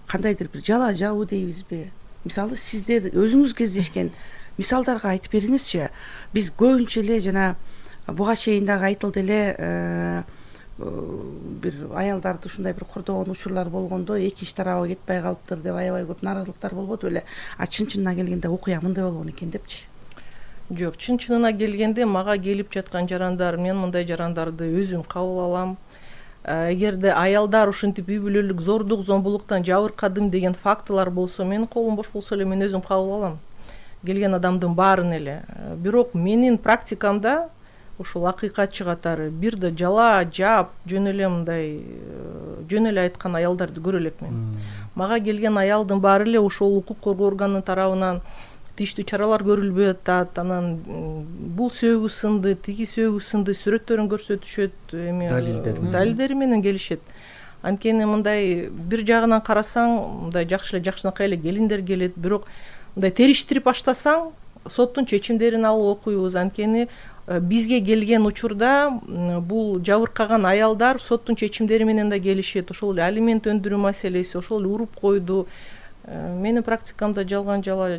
кандайдыр бир жала жабуу дейбизби? Мисалы сиздер өзүңүз кездешкен мисалдарга айтып бериңизчи. Биз көбүнчө эле жана буга чейин дагы айтылды эле бир аялдарды ушундай бир кордогон учурлар болгондо экинчи тарабы кетпей калыптыр деп аябай көп нааразылыктар болбоду беле? А чын чынына келгенде окуя мындай болгон экен депчи. Жок, чын чынына келгенде мага келип жаткан жарандар, мен мындай жарандарды өзүм кабыл алам. Эгерде аялдар ушинтип үй бүлөлүк зордук зомбулуктан жабыркадым деген фактылар болсо, менин колум бош болсо эле мен өзүм кабыл алам келген адамдын баарын эле. Бирок менин практикамда ушул акыйкатчы катары бир да жала жаап жөн эле мындай жөн эле айткан аялдарды көрө элекмин. Мага келген аялдын баары эле ошол укук коргоо органынын тарабынан тийиштүү чаралар көрүлбөй атат, анан бул сөөгү сынды, тиги сөөгү сынды сүрөттөрүн көрсөтүшөт, эми далилдери менен келишет. Анткени мындай бир жагынан карасаң, мындай жакшы эле жакшынакай эле келиндер келет, бирок мындай териштирип баштасаң, соттун чечимдерин алып окуйбуз. Анткени бизге келген учурда бул жабыркаган аялдар соттун чечимдери менен да келишет. Ошол эле алимент өндүрүү маселеси, ошол эле уруп койду. Менин практикамда жалган жала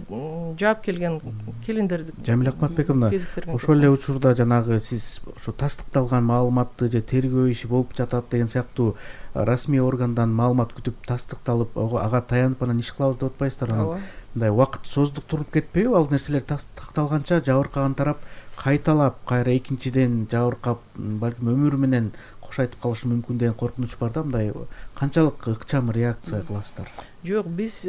жаап келген келиндерди. Жамиля Акматбековна, ошол эле учурда жанагы сиз ошо тастыкталган маалыматты же тергөө иши болуп жатат деген сыяктуу расмий органдан маалымат күтүп тастыкталып, ага таянып анан иш кылабыз деп атпайсыздар. Мындай убакыт создуктуруп кетпейби? Ал нерселер тастыкталганча жабыркаган тарап кайталап, кайра экинчиден жабыркап, балким өмүрү менен кош айтып калышы мүмкүн деген коркунуч бар да. Мындай канчалык ыкчам реакция кыласыздар? Жок, биз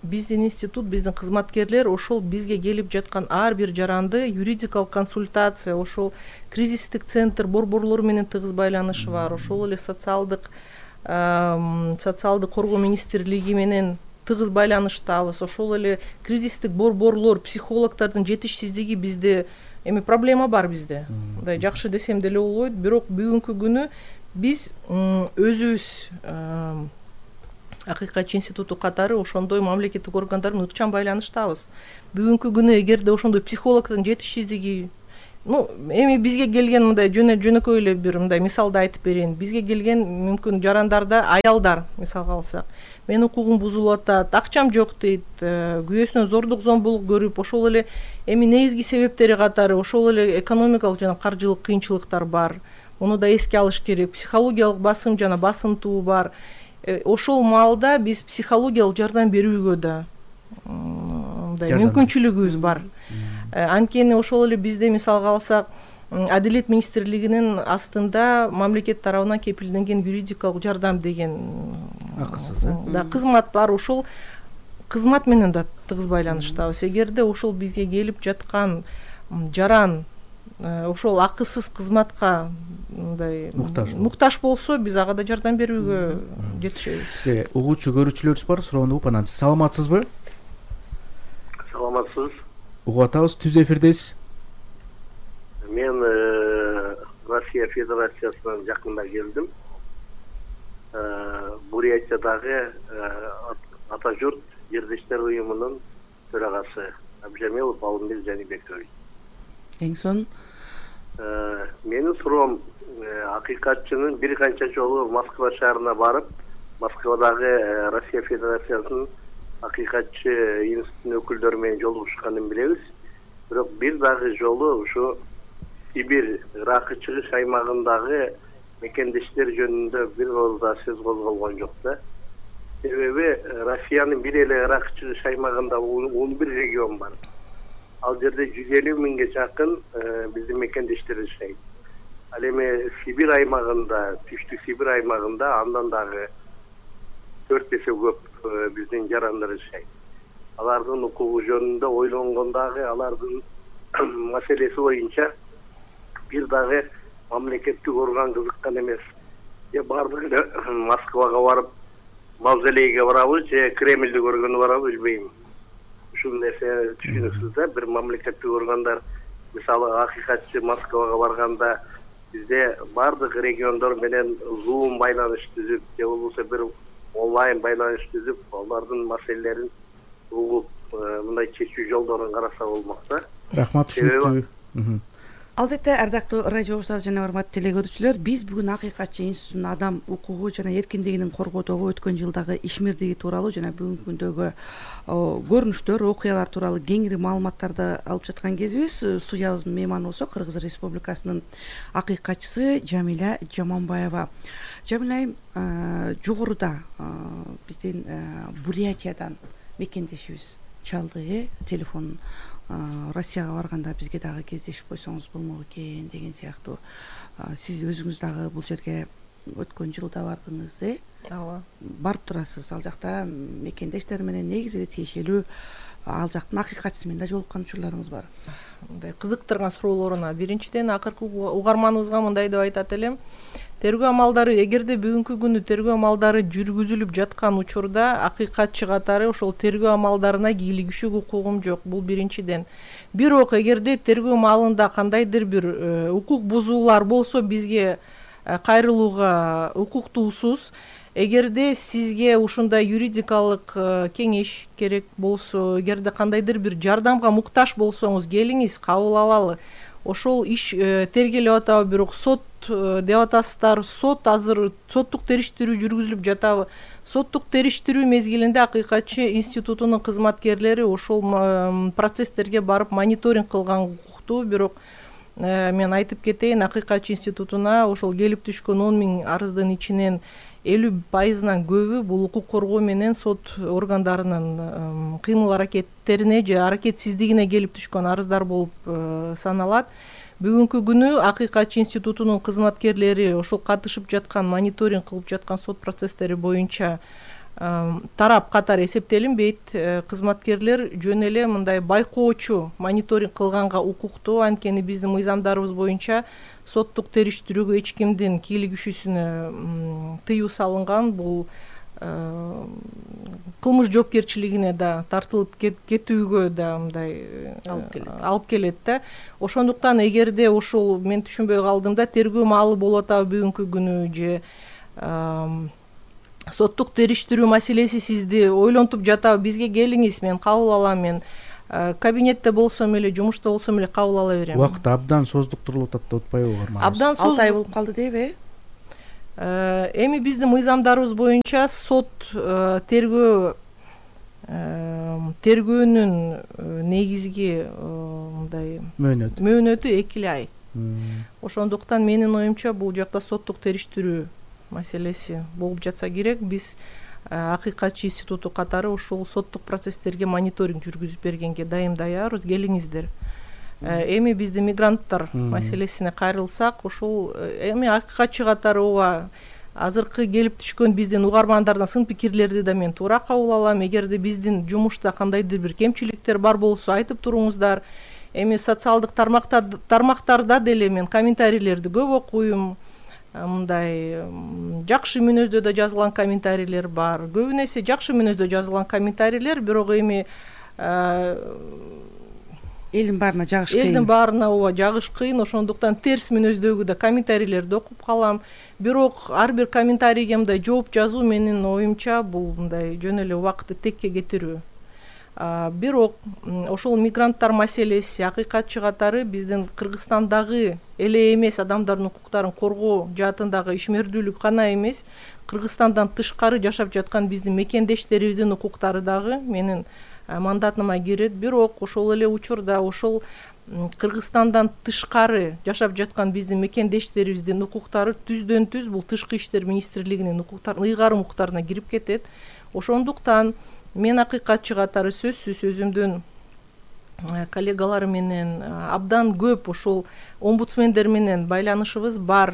биздин институт, биздин кызматкерлер ошол бизге келип жаткан ар бир жаранды юридикалык консультация, ошол кризистик центр борборлору менен тыгыз байланышы бар. Ошол эле социалдык социалдык коргоо министрлиги менен тыгыз байланыштабыз. Ошол эле кризистик борборлор, психологдордун жетишсиздиги бизде эми проблема бар бизде. Мындай жакшы десем деле болбойт, бирок бүгүнкү күнү биз өзүбүз акыйкатчы институту катары ошондой мамлекеттик органдар менен ыкчам байланыштабыз. Бүгүнкү күнү эгерде ошондой психологдун жетишсиздиги, ну эми бизге келген мындай жөнөкөй эле бир мындай мисалды айтып берейин. Бизге келген мүмкүн жарандарда аялдар, мисалга алсак, менин укугум бузулуп атат, акчам жок дейт, күйөөсүнөн зордук зомбулук көрүп, ошол эле эми негизги себептери катары ошол эле экономикалык жана каржылык кыйынчылыктар бар. Муну да эске алыш керек. Психологиялык басым жана басынтуу бар. Ошол маалда биз психологиялык жардам берүүгө да мындай мүмкүнчүлүгүбүз бар. Анткени ошол эле бизде мисалга алсак, Адилет министрлигинин астында мамлекет тарабынан кепилденген юридикалык жардам деген акысыз да кызмат бар. Ошол кызмат менен да тыгыз байланыштабыз. Эгерде ошол бизге келип жаткан жаран ошол акысыз кызматка мындай муктаж болсо, биз ага да жардам берүүгө жетишебиз. Угуучу көрүүчүлөрүбүз бар, суроону угуп анан саламатсызбы? Саламатсыз. Угуп атабыз, түз эфирдесиз. Мен Россия Федерациясынан жакында келдим. Бурятиядагы Ата журт жердештер уюмунун төрагасы Абжамилов Алымбек Жанибекович. Эң сон менин суроом, акыйкатчынын бир канча жолу Москва шаарына барып, Москвадагы Россия Федерациясынын акыйкатчы институтунун өкүлдөрү менен жолугушканын билебиз. Бирок бир дагы жолу ушу Сибирь Ракы чыгыш аймагындагы мекендештер жөнүндө бир ооз да сөз козголгон жок да. Себеби Россиянын бир эле Ракы чыгыш аймагында он бир регион бар. Ал жерде жүз элүү миңге жакын биздин мекендештер жашайт. Ал эми Сибирь аймагында, Түштүк Сибирь аймагында андан дагы төрт эсе көп биздин жарандар жашайт. Алардын укугу жөнүндө ойлонгондагы алардын маселеси боюнча бир дагы мамлекеттик орган кызыккан эмес. Же бардыгы эле Москвага барып, мавзолейге барабы, же Кремльди көргөнү барабы билбейм. Ушул нерсе түшүнүксүз да, бир мамлекеттик органдар мисалы акыйкатчы Москвага барганда бизде баардык региондор менен зум байланыш түзүп же болбосо бир онлайн байланыш түзүп алардын маселелерин угуп мындай чечүү жолдорун караса болмок да. Рахмат, түшүнүктүү. Албетте, ардактуу радио угуучулар жана урматтуу телегөрүүчүлөр, биз бүгүн Акыйкатчы институтунун адам укугу жана эркиндигинин коргоодогу өткөн жылдагы ишмердиги тууралуу жана бүгүнкү күндөгү көрүнүштөр, окуялар тууралуу кеңири маалыматтарды алып жаткан кезибиз. Студиябыздын мейманы болсо Кыргыз Республикасынын акыйкатчысы Жамиля Жаманбаева. Жамиля айым, жогоруда биздин Бурятиядан мекендешибиз чалды, телефон Россияга барганда бизге дагы кездешип койсоңуз болмок экен деген сыяктуу. Сиз өзүңүз дагы бул жерге өткөн жылда бардыңыз, э? Ооба. Барып турасыз. Ал жакта мекендештер менен негизи эле тиешелүү ал жактын акыйкатчысы менен да жолуккан учурларыңыз бар. Мындай кызыктырган суроолоруна биринчиден акыркы угарманыбызга мындай деп айтат элем. Тергөө амалдары, эгерде бүгүнкү күнү тергөө амалдары жүргүзүлүп жаткан учурда акыйкатчы катары ошол тергөө амалдарына кийлигишүүгө укугум жок. Бул биринчиден. Бирок эгерде тергөө маалында кандайдыр бир укук бузуулар болсо, бизге кайрылууга укуктуусуз. Эгерде сизге ушундай юридикалык кеңеш керек болсо, эгерде кандайдыр бир жардамга муктаж болсоңуз, келиңиз, кабыл алалы. Ошол иш тергелип атабы, бирок сот деп атасыздар. Сот азыр соттук териштирүү жүргүзүлүп жатабы? Соттук териштирүү мезгилинде акыйкатчы институтунун кызматкерлери ошол процесстерге барып мониторинг кылган укуктуу. Бирок мен айтып кетейин, акыйкатчы институтуна ошол келип түшкөн он миң арыздын ичинен элүү пайызынан көбү бул укук коргоо менен сот органдарынын кыймыл аракеттерине же аракетсиздигине келип түшкөн арыздар болуп саналат. Бүгүнкү күнү акыйкатчы институтунун кызматкерлери ошол катышып жаткан, мониторинг кылып жаткан сот процесстери боюнча тарап катары эсептелинбейт. Кызматкерлер жөн эле мындай байкоочу мониторинг кылганга укуктуу. Анткени биздин мыйзамдарыбыз боюнча соттук териштирүүгө эч кимдин кийлигишүүсүнө тыюу салынган. Бул кылмыш жоопкерчилигине да тартылып кетүүгө да мындай алып келет да. Ошондуктан эгерде ошол мен түшүнбөй калдым да, тергөө маалы болуп атабы бүгүнкү күнү же соттук териштирүү маселеси сизди ойлонтуп жатабы, бизге келиңиз, мен кабыл алам, мен кабинетте болсом эле, жумушта болсом эле кабыл ала берем. Убакыт абдан создуктурулуп атат деп атпайбы угарман? Абдан соз алты ай болуп калды дейби? Эми биздин мыйзамдарыбыз боюнча сот тергөө тергөөнүн негизги мындай мөөнөтү мөөнөтү эки эле ай. Ошондуктан менин оюмча бул жакта соттук териштирүү маселеси болуп жатса керек. Биз акыйкатчы институту катары ушул соттук процесстерге мониторинг жүргүзүп бергенге дайым даярбыз, келиңиздер. Эми биздин мигранттар маселесине кайрылсак, ушул эми акыйкатчы катары ооба азыркы келип түшкөн биздин угармандардан сын пикирлерди да мен туура кабыл алам. Эгерде биздин жумушта кандайдыр бир кемчиликтер бар болсо айтып туруңуздар. Эми социалдык тармактарда деле мен комментарийлерди көп окуйм. Мындай жакшы мүнөздө да жазылган комментарийлер бар. Көбүнө эсе жакшы мүнөздө жазылган комментарийлер, бирок эми элдин баарына жагыш кыйын. Элдин баарына ооба жагыш кыйын. Ошондуктан терс мүнөздөгү да комментарийлерди окуп калам. Бирок ар бир комментарийге мындай жооп жазуу менин оюмча бул мындай жөн эле убакытты текке кетирүү. Бирок ошол мигранттар маселеси акыйкатчы катары биздин Кыргызстандагы эле эмес адамдардын укуктарын коргоо жаатындагы ишмердүүлүк гана эмес, Кыргызстандан тышкары жашап жаткан биздин мекендештерибиздин укуктары дагы менин мандатыма кирет. Бирок ошол эле учурда ошол Кыргызстандан тышкары жашап жаткан биздин мекендештерибиздин укуктары түздөн түз бул тышкы иштер министрлигинин укуктарын ыйгарым укуктарына кирип кетет. Ошондуктан мен акыйкатчы катары сөзсүз өзүмдүн коллегалар менен абдан көп ошол омбудсмендер менен байланышыбыз бар.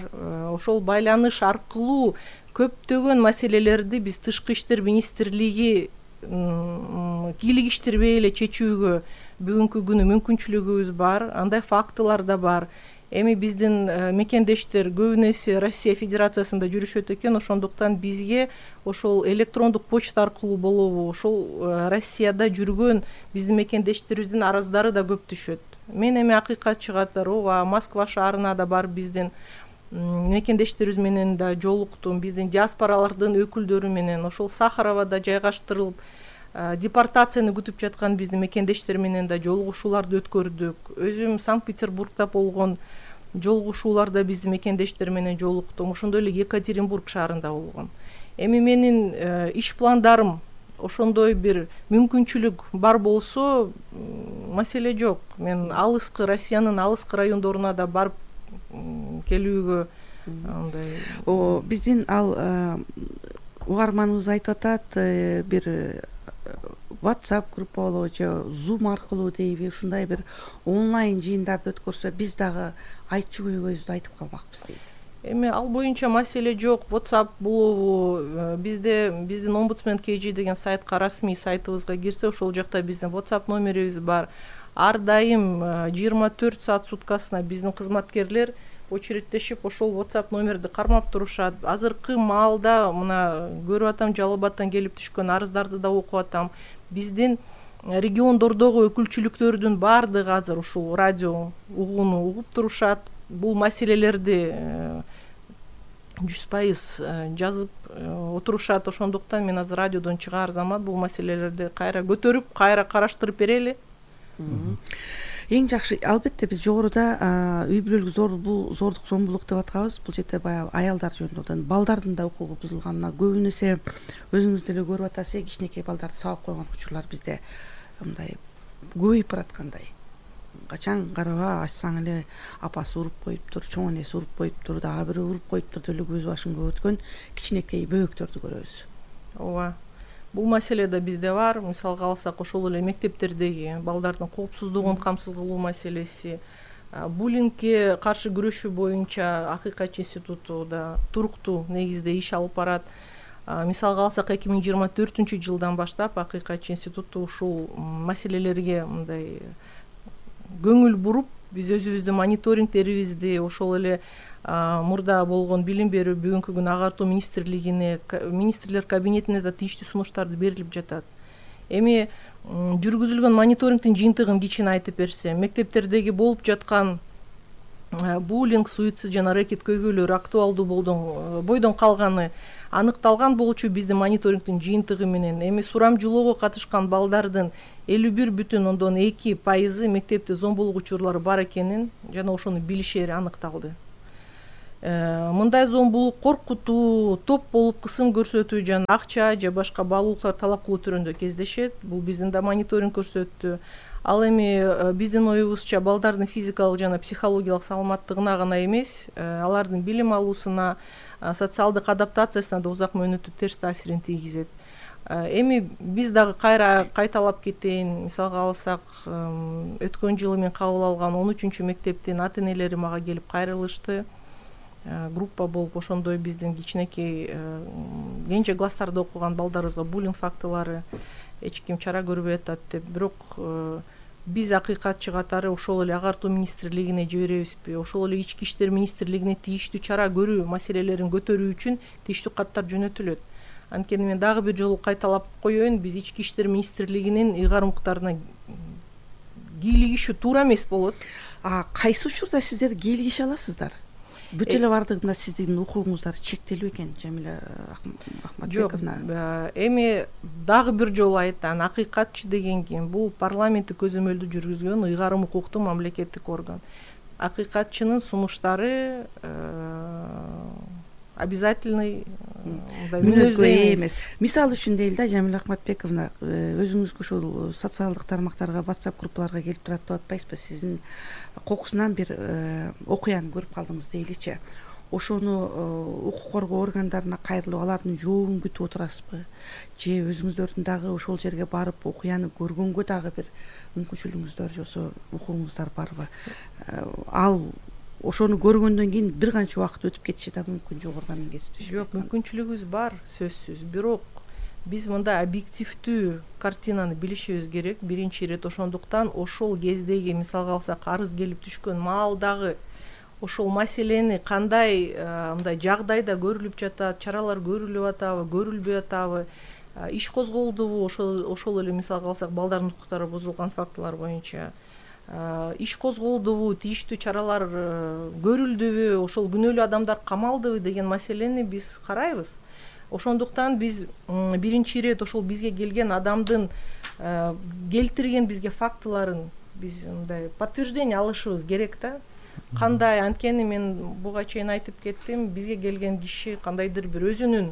Ошол байланыш аркылуу көптөгөн маселелерди биз тышкы иштер министрлиги кийлигиштирбей эле чечүүгө бүгүнкү күнү мүмкүнчүлүгүбүз бар. Андай фактылар да бар. Эми биздин мекендештер көбүнө эсе Россия Федерациясында жүрүшөт экен. Ошондуктан бизге ошол электрондук почта аркылуу болобу, ошол Россияда жүргөн биздин мекендештерибиздин арыздары да көп түшөт. мен эми акыйкатчы катары ооба Москва шаарына да барып биздин мекендештерибиз менен да жолуктум, биздин диаспоралардын өкүлдөрү менен ошол Сахаровада жайгаштырылып депортацияны күтүп жаткан биздин мекендештер менен да жолугушууларды өткөрдүк. Өзүм Санкт-Петербургда болгон жолугушууларда биздин мекендештер менен жолуктум. Ошондой эле Екатеринбург шаарында болгон. Эми менин иш пландарым ошондой бир мүмкүнчүлүк бар болсо маселе жок. Мен алыскы Россиянын алыскы райондоруна да барып келүүгө андай. О, биздин ал угарманыбыз айтып атат, бир WhatsApp группа болобу же Zoom аркылуу дейби, ушундай бир онлайн жыйындарды өткөрсө биз дагы айтчу көйгөйүбүздү айтып калмакпыз дейт. Эми ал боюнча маселе жок. WhatsApp болобу, бизде биздин омбудсмен кей жи деген сайтка, расмий сайтыбызга кирсе, ошол жакта биздин WhatsApp номерибиз бар. Ар дайым жыйырма төрт саат суткасына биздин кызматкерлер очередтешип ошол WhatsApp номерди кармап турушат. Азыркы маалда мына көрүп атам, Жалал Абадтан келип түшкөн арыздарды да окуп атам. Биздин региондордогу өкүлчүлүктөрдүн баардыгы азыр ушул радио угууну угуп турушат. Бул маселелерди жүз пайыз жазып отурушат. Ошондуктан мен азыр радиодон чыгаар замат бул маселелерди кайра көтөрүп, кайра караштырып берели. Эң жакшы, албетте биз жогоруда үй бүлөлүк зор бул зордук зомбулук деп атканбыз. Бул жерде баягы аялдар жөнүндө, балдардын да укугу бузулганына көбүн эсе өзүңүз деле көрүп атасыз, кичинекей балдарды сабап койгон учурлар бизде мындай көбөйүп бараткандай. Качан караба ачсаң эле апасы уруп коюптур, чоң энеси уруп коюптур, дагы бири уруп коюптур деп эле көз башыңга өткөн кичинекей бөбөктөрдү көрөбүз. Ооба. Бул маселе да бизде бар. Мисалга алсак, ошол эле мектептердеги балдардын коопсуздугун камсыз кылуу маселеси, буллингке каршы күрөшүү боюнча Акыйкатчы институту да туруктуу негизде иш алып барат. Мисалга алсак, эки миң жыйырма төртүнчү жылдан баштап Акыйкатчы институту ушул маселелерге мындай көңүл буруп, биз өзүбүздүн мониторингдерибизди, ошол эле мурда болгон билим берүү, бүгүнкү күнү агартуу министрлигине, министрлер кабинетине да тийиштүү сунуштарды берилип жатат. Эми жүргүзүлгөн мониторингдин жыйынтыгын кичине айтып берсем, мектептердеги болуп жаткан буллинг, суицид жана рэкет көйгөйлөрү актуалдуу бойдон калганы аныкталган болчу биздин мониторингдин жыйынтыгы менен. Эми сурамжылоого катышкан балдардын элүү бир бүтүн ондон эки пайызы мектепте зомбулук учурлары бар экенин жана ошону билишери аныкталды. Мындай зомбулук коркутуу, топ болуп кысым көрсөтүү жана акча же башка баалуулуктар талап кылуу түрүндө кездешет. Бул биздин да мониторинг көрсөттү. Ал эми биздин оюбузча балдардын физикалык жана психологиялык саламаттыгына гана эмес, алардын билим алуусуна, социалдык адаптациясына да узак мөөнөттүү терс таасирин тийгизет. Эми биз дагы кайра кайталап кетейин. Мисалга алсак, өткөн жылы мен кабыл алган он үчүнчү мектептин ата энелери мага келип кайрылышты. Группа болуп ошондой биздин кичинекей кенже класстарда окуган балдарыбызга буллинг фактылары эч ким чара көрбөй атат деп. Бирок биз Акыйкатчы катары ошол эле агартуу министрлигине жиберебизби, ошол эле ички иштер министрлигине тийиштүү чара көрүү маселелерин көтөрүү үчүн тийиштүү каттар жөнөтүлөт. Анткени мен дагы бир жолу кайталап коеюн, биз ички иштер министрлигинин ыйгарымдыктарына кийлигишүү туура эмес болот. А кайсы учурда сиздер кийлигише аласыздар? Бүт эле бардыгында сиздин укугуңуздар чектелүү экен, Жамиля Ахматбековна. Жок, эми дагы бир жолу айтам, Акыйкатчы деген ким? Бул парламенттик көзөмөлдү жүргүзгөн ыйгарым укуктуу мамлекеттик орган. Акыйкатчынын сунуштары обязательный мүнөзгө ээ эмес. Мисал үчүн дейли да, Жамиля Ахматбековна, өзүңүзгө ушул социалдык тармактарга, WhatsApp группаларга келип турат деп атпайсызбы? Сиздин кокусунан бир окуяны көрүп калдыңыз дейличи. Ошону укук коргоо органдарына кайрылып, алардын жообун күтүп отурасызбы? Же өзүңүздөрдүн дагы ошол жерге барып окуяны көргөнгө дагы бир мүмкүнчүлүгүңүздөр жосо укугуңуздар барбы? Ал ошону көргөндөн кийин бир канча убакыт өтүп кетиши да мүмкүн, жогоруда мен кесиптешим. Жок, мүмкүнчүлүгүбүз бар, сөзсүз. Бирок биз мындай объективдүү картинаны билишибиз керек. Биринчи ирет ошондуктан ошол кездеги, мисалга алсак, арыз келип түшкөн маалдагы ошол маселени кандай мындай жагдайда көрүлүп жатат, чаралар көрүлүп атабы, көрүлбөй атабы, иш козголдубу, ошол ошол эле мисалга алсак, балдардын укуктары бузулган фактылар боюнча. иш козголдубу, тийиштүү чаралар көрүлдүбү, ошол күнөөлүү адамдар камалдыбы деген маселени биз карайбыз. Ошондуктан биз биринчи ирет ошол бизге келген адамдын келтирген бизге фактыларын биз мындай подтверждение алышыбыз керек да. Кандай, анткени мен буга чейин айтып кеттим, бизге келген киши кандайдыр бир өзүнүн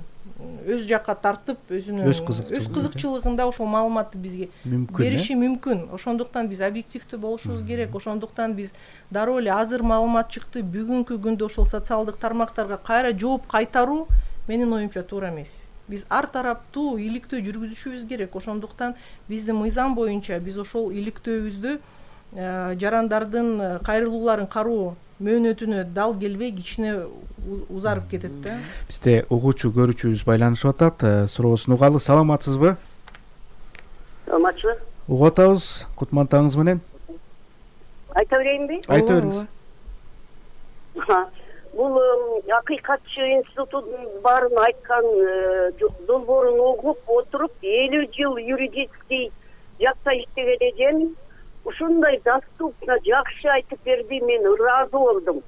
өз жакка тартып, өзүнүн өз кызыкчылыгында ошол маалыматты бизге бериши мүмкүн. Ошондуктан биз объективдүү болушубуз керек. Ошондуктан биз дароо эле азыр маалымат чыкты, бүгүнкү күндө ошол социалдык тармактарга кайра жооп кайтаруу менин оюмча туура эмес. Биз ар тараптуу иликтөө жүргүзүшүбүз керек. Ошондуктан биздин мыйзам боюнча биз ошол иликтөөбүздү жарандардын кайрылууларын кароо мөөнөтүнө дал келбей кичине узарып кетет да. Бизде угуучу көрүүчүбүз байланышып атат. Суроосун угалы. Саламатсызбы? Саламатчы. Угуп атабыз. Кутман таңыңыз менен. Айта берейинби? Айта бериңиз. Бул акыйкатчы институтунун баарын айткан долбоорун угуп отуруп, элүү жыл юридический жакта иштеген эдем. Ушундай доступно жакшы айтып берди, мен ыраазы болдум.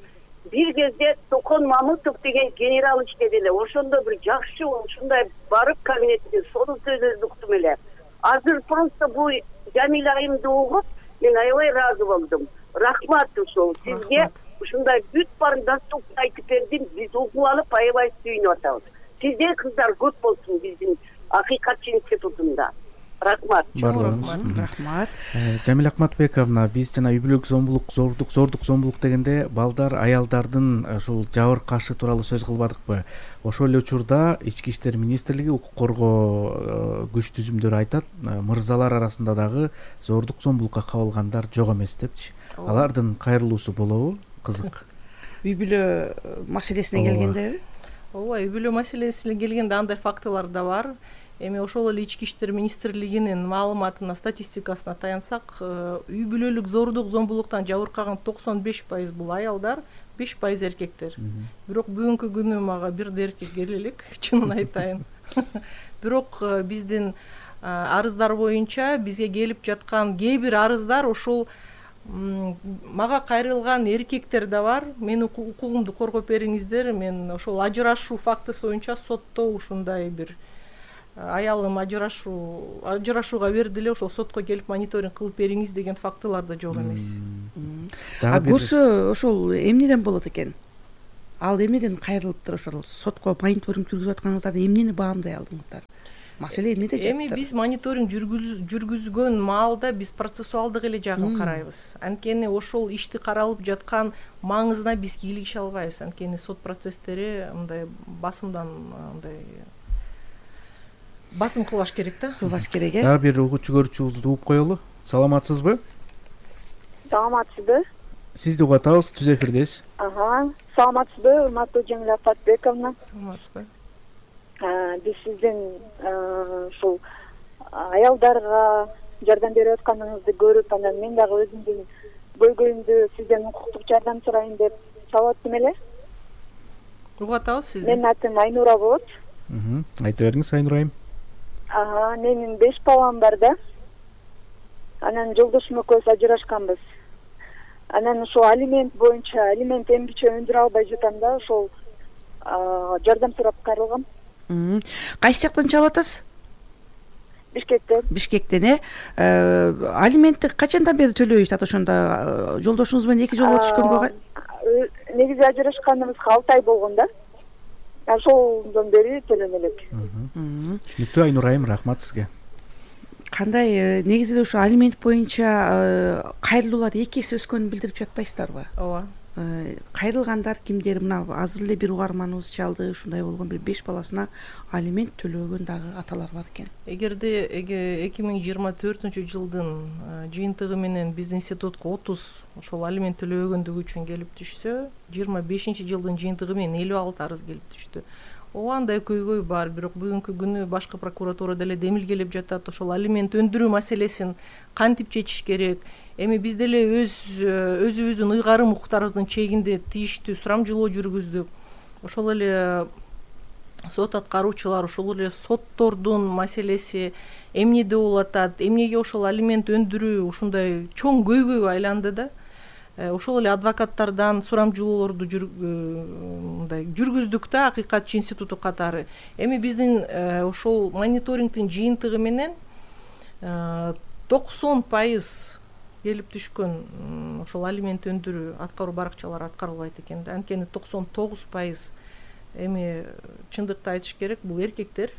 Бир кезде Токон Мамытов деген генерал иштеди эле. Ошондо бир жакшы ушундай барып кабинетте сонун сөзүн уктум эле. Азыр просто бул Жамил айымды угуп, мен аябай ыраазы болдум. Рахмат ушул сизге. Ушундай бүт баарын доступно айтып бердим. Биз угуп алып аябай сүйүнүп атабыз. Сизде кыздар көп болсун биздин акыйкатчы институтунда. Рахмат. Рахмат. Жамил Акматбековна, биз жана үй бүлөлүк зомбулук, зордук, зордук зомбулук дегенде балдар, аялдардын ушул жабыркашы тууралуу сөз кылбадыкпы? Ошол эле учурда Ички иштер министрлиги укук коргоо күч түзүмдөрү айтат, мырзалар арасында дагы зордук зомбулукка кабылгандар жок эмес депчи. Алардын кайрылуусу болобу? Кызык. Үй бүлө маселесине келгенде? Ооба, үй бүлө маселесине келгенде андай фактылар да бар. Эми ошол эле Ички иштер министрлигинин маалыматына, статистикасына таянсак, үй бүлөлүк зордук зомбулуктан жабыркаган токсон беш пайыз бул аялдар, беш пайыз эркектер. Бирок бүгүнкү күнү мага бир да эркек келе элек, чынын айтайын. Бирок биздин арыздар боюнча бизге келип жаткан кээ бир арыздар ошол мага кайрылган эркектер да бар. Менин укугумду коргоп бериңиздер. Мен ошол ажырашуу фактысы боюнча сотто ушундай бир аялым ажырашуу ажырашууга берди эле, ошол сотко келип мониторинг кылып бериңиз деген фактылар да жок эмес. А көрсө ошол эмнеден болот экен? Ал эмнеден кайрылыптыр ошол сотко мониторинг жүргүзүп атканыңыздарды эмнени баамдай алдыңыздар? Маселе эмнеде жатты? Эми биз мониторинг жүргүзгөн маалда биз процессуалдык эле жагын карайбыз. Анткени ошол ишти каралып жаткан маңызына биз кийлигише албайбыз. Анткени сот процесстери мындай басымдан мындай басым кылбаш керек да. Кылбаш керек, э? Дагы бир угуучу көрүүчүбүздү угуп коелу. Саламатсызбы? Саламатсызбы? Сизди угуп атабыз, түз эфирдесиз. Ага, саламатсызбы, урматтуу Жамил Акматбековна? Саламатсызбы? Биз сиздин ушул аялдарга жардам берип атканыңызды көрүп, анан мен дагы өзүмдүн көйгөйүмдү сизден укуктук жардам сурайын деп чалып аттым эле. Угуп атабыз сизди. Менин атым Айнура болот. Айта бериңиз, Айнура айым. Ага, менин беш балам бар да. Анан жолдошум экөөбүз ажырашканбыз. Анан ошол алимент боюнча, алимент эмгиче өндүрө албай жатам да, ошол жардам сурап кайрылгам. Кайсы жактан чалып атасыз? Бишкектен. Бишкектен, э? Алиментти качандан бери төлөй атат ошондо? Жолдошуңуз менен эки жолу түшкөнгө? Негизи ажырашканыбызга алты ай болгон да. Ошолдон бери төлөнө элек. Түшүнүктүү, Айнура айым, рахмат сизге. Кандай негизи ошо алимент боюнча кайрылуулар эки эсе өскөнүн билдирип жатпайсыздарбы? Ооба. Кайрылгандар кимдер? Мына азыр эле бир угарманыбыз чалды, ушундай болгон бир беш баласына алимент төлөгөн дагы аталар бар экен. Эгерде эки миң жыйырма төртүнчү жылдын жыйынтыгы менен биздин институтка отуз ошол алимент төлөбөгөндүгү үчүн келип түшсө, жыйырма бешинчи жылдын жыйынтыгы менен элүү алты арыз келип түштү. Ооба, андай көйгөй бар, бирок бүгүнкү күнү башкы прокуратурада эле демилгелеп жатат. Ошол алимент өндүрүү маселесин кантип чечиш керек? Эми биз деле өз өзүбүздүн ыйгарым укуктарыбыздын чегинде тийиштүү сурамжылоо жүргүздүк. Ошол эле сот аткаруучулар ошол эле соттордун маселеси эмнеде болуп атат, эмнеге ошол алимент өндүрүү ушундай чоң көйгөйгө айланды да. Ошол эле адвокаттардан сурамжылоолорду мындай жүргүздүк да Акыйкатчы институту катары. Эми биздин ошол мониторингдин жыйынтыгы менен токсон пайыз келип түшкөн ошол алимент өндүрүү аткаруу баракчалары аткарылбайт экен да. Анткени токсон тогуз пайыз эми чындыкты айтыш керек, бул эркектер.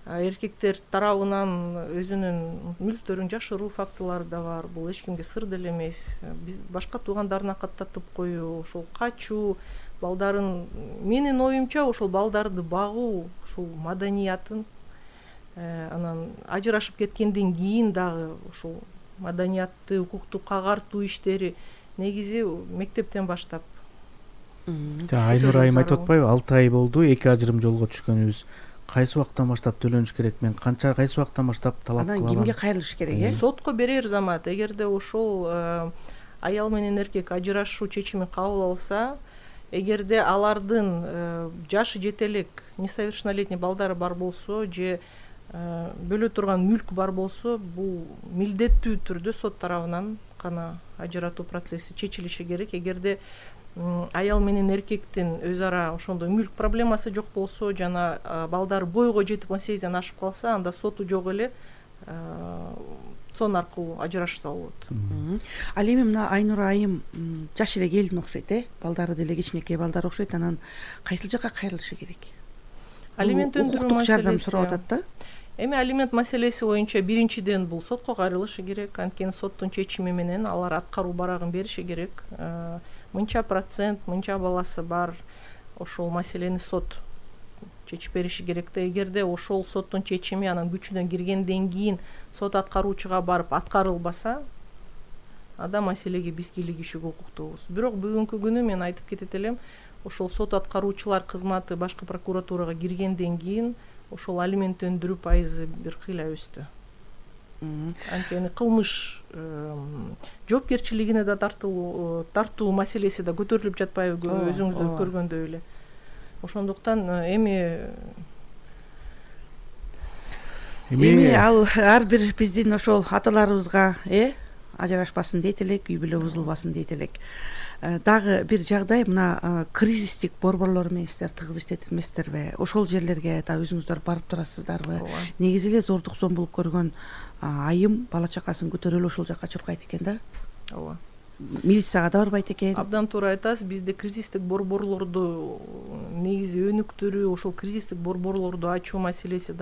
Эркектер тарабынан өзүнүн мүлктөрүн жашыруу фактылары да бар. Бул эч кимге сыр деле эмес. Биз башка туугандарына каттатып коюу, ошол качуу, балдарын, менин оюмча ошол балдарды багуу, ушул маданиятын анан ажырашып кеткенден кийин дагы ошол маданиятты, укукту кагартуу иштери негизи мектептен баштап. Айнура айым айтып атпайбы, алты ай болду эки ажырым жолго түшкөнүбүз. Кайсы убактан баштап төлөнүш керек, мен канча кайсы убактан баштап талап кылам? Анан кимге кайрылыш керек, э? Сотко берер замат. Эгерде ошол аял менен эркек ажырашуу чечими кабыл алса, эгерде алардын жашы жете элек несовершеннолетний балдары бар болсо же бөлө турган мүлк бар болсо, бул милдеттүү түрдө сот тарабынан гана ажыратуу процесси чечилиши керек. Эгерде аял менен эркектин өз ара ошондой мүлк проблемасы жок болсо жана балдары бойго жетип он сегизден ашып калса, анда соту жок эле сон аркылуу ажырашса болот. Ал эми мына Айнура айым жаш эле келин окшойт, э? Балдары деле кичинекей балдар окшойт. Анан кайсыл жакка кайрылышы керек? Алимент өндүрүү маселеси жардам сурап атат да. Эми алимент маселеси боюнча биринчиден бул сотко кайрылышы керек. Анткени соттун чечими менен алар аткаруу барагын бериши керек. Мынча процент, мынча баласы бар, ошол маселени сот чечип бериши керек да. Эгерде ошол соттун чечими анан күчүнө киргенден кийин сот аткаруучуга барып аткарылбаса, анда маселеге биз кийлигишүүгө укуктуубуз. Бирок бүгүнкү күнү мен айтып кетет элем, ошол сот аткаруучулар кызматы башкы прокуратурага киргенден кийин ошол алимент өндүрүү пайызы бир кыйла өстү. Анткени кылмыш жоопкерчилигине да тартылуу тартуу маселеси да көтөрүлүп жатпайбы, өзүңүздөр көргөндөй эле. Ошондуктан эми эми ал ар бир биздин ошол аталарыбызга э ажырашпасын дейт элек, үй бүлө бузулбасын дейт элек. Дагы бир жагдай, мына кризистик борборлор менен сиздер тыгыз иштетет эмессиздерби? Ошол жерлерге да өзүңүздөр барып турасыздарбы? Негизи эле зордук зомбулук көргөн айым бала чакасын көтөрүп ошол жакка чуркайт экен да. Ооба. Милицияга да барбайт экен. Абдан туура айтасыз. Бизде кризистик борборлорду негизи өнүктүрүү, ошол кризистик борборлорду ачуу маселеси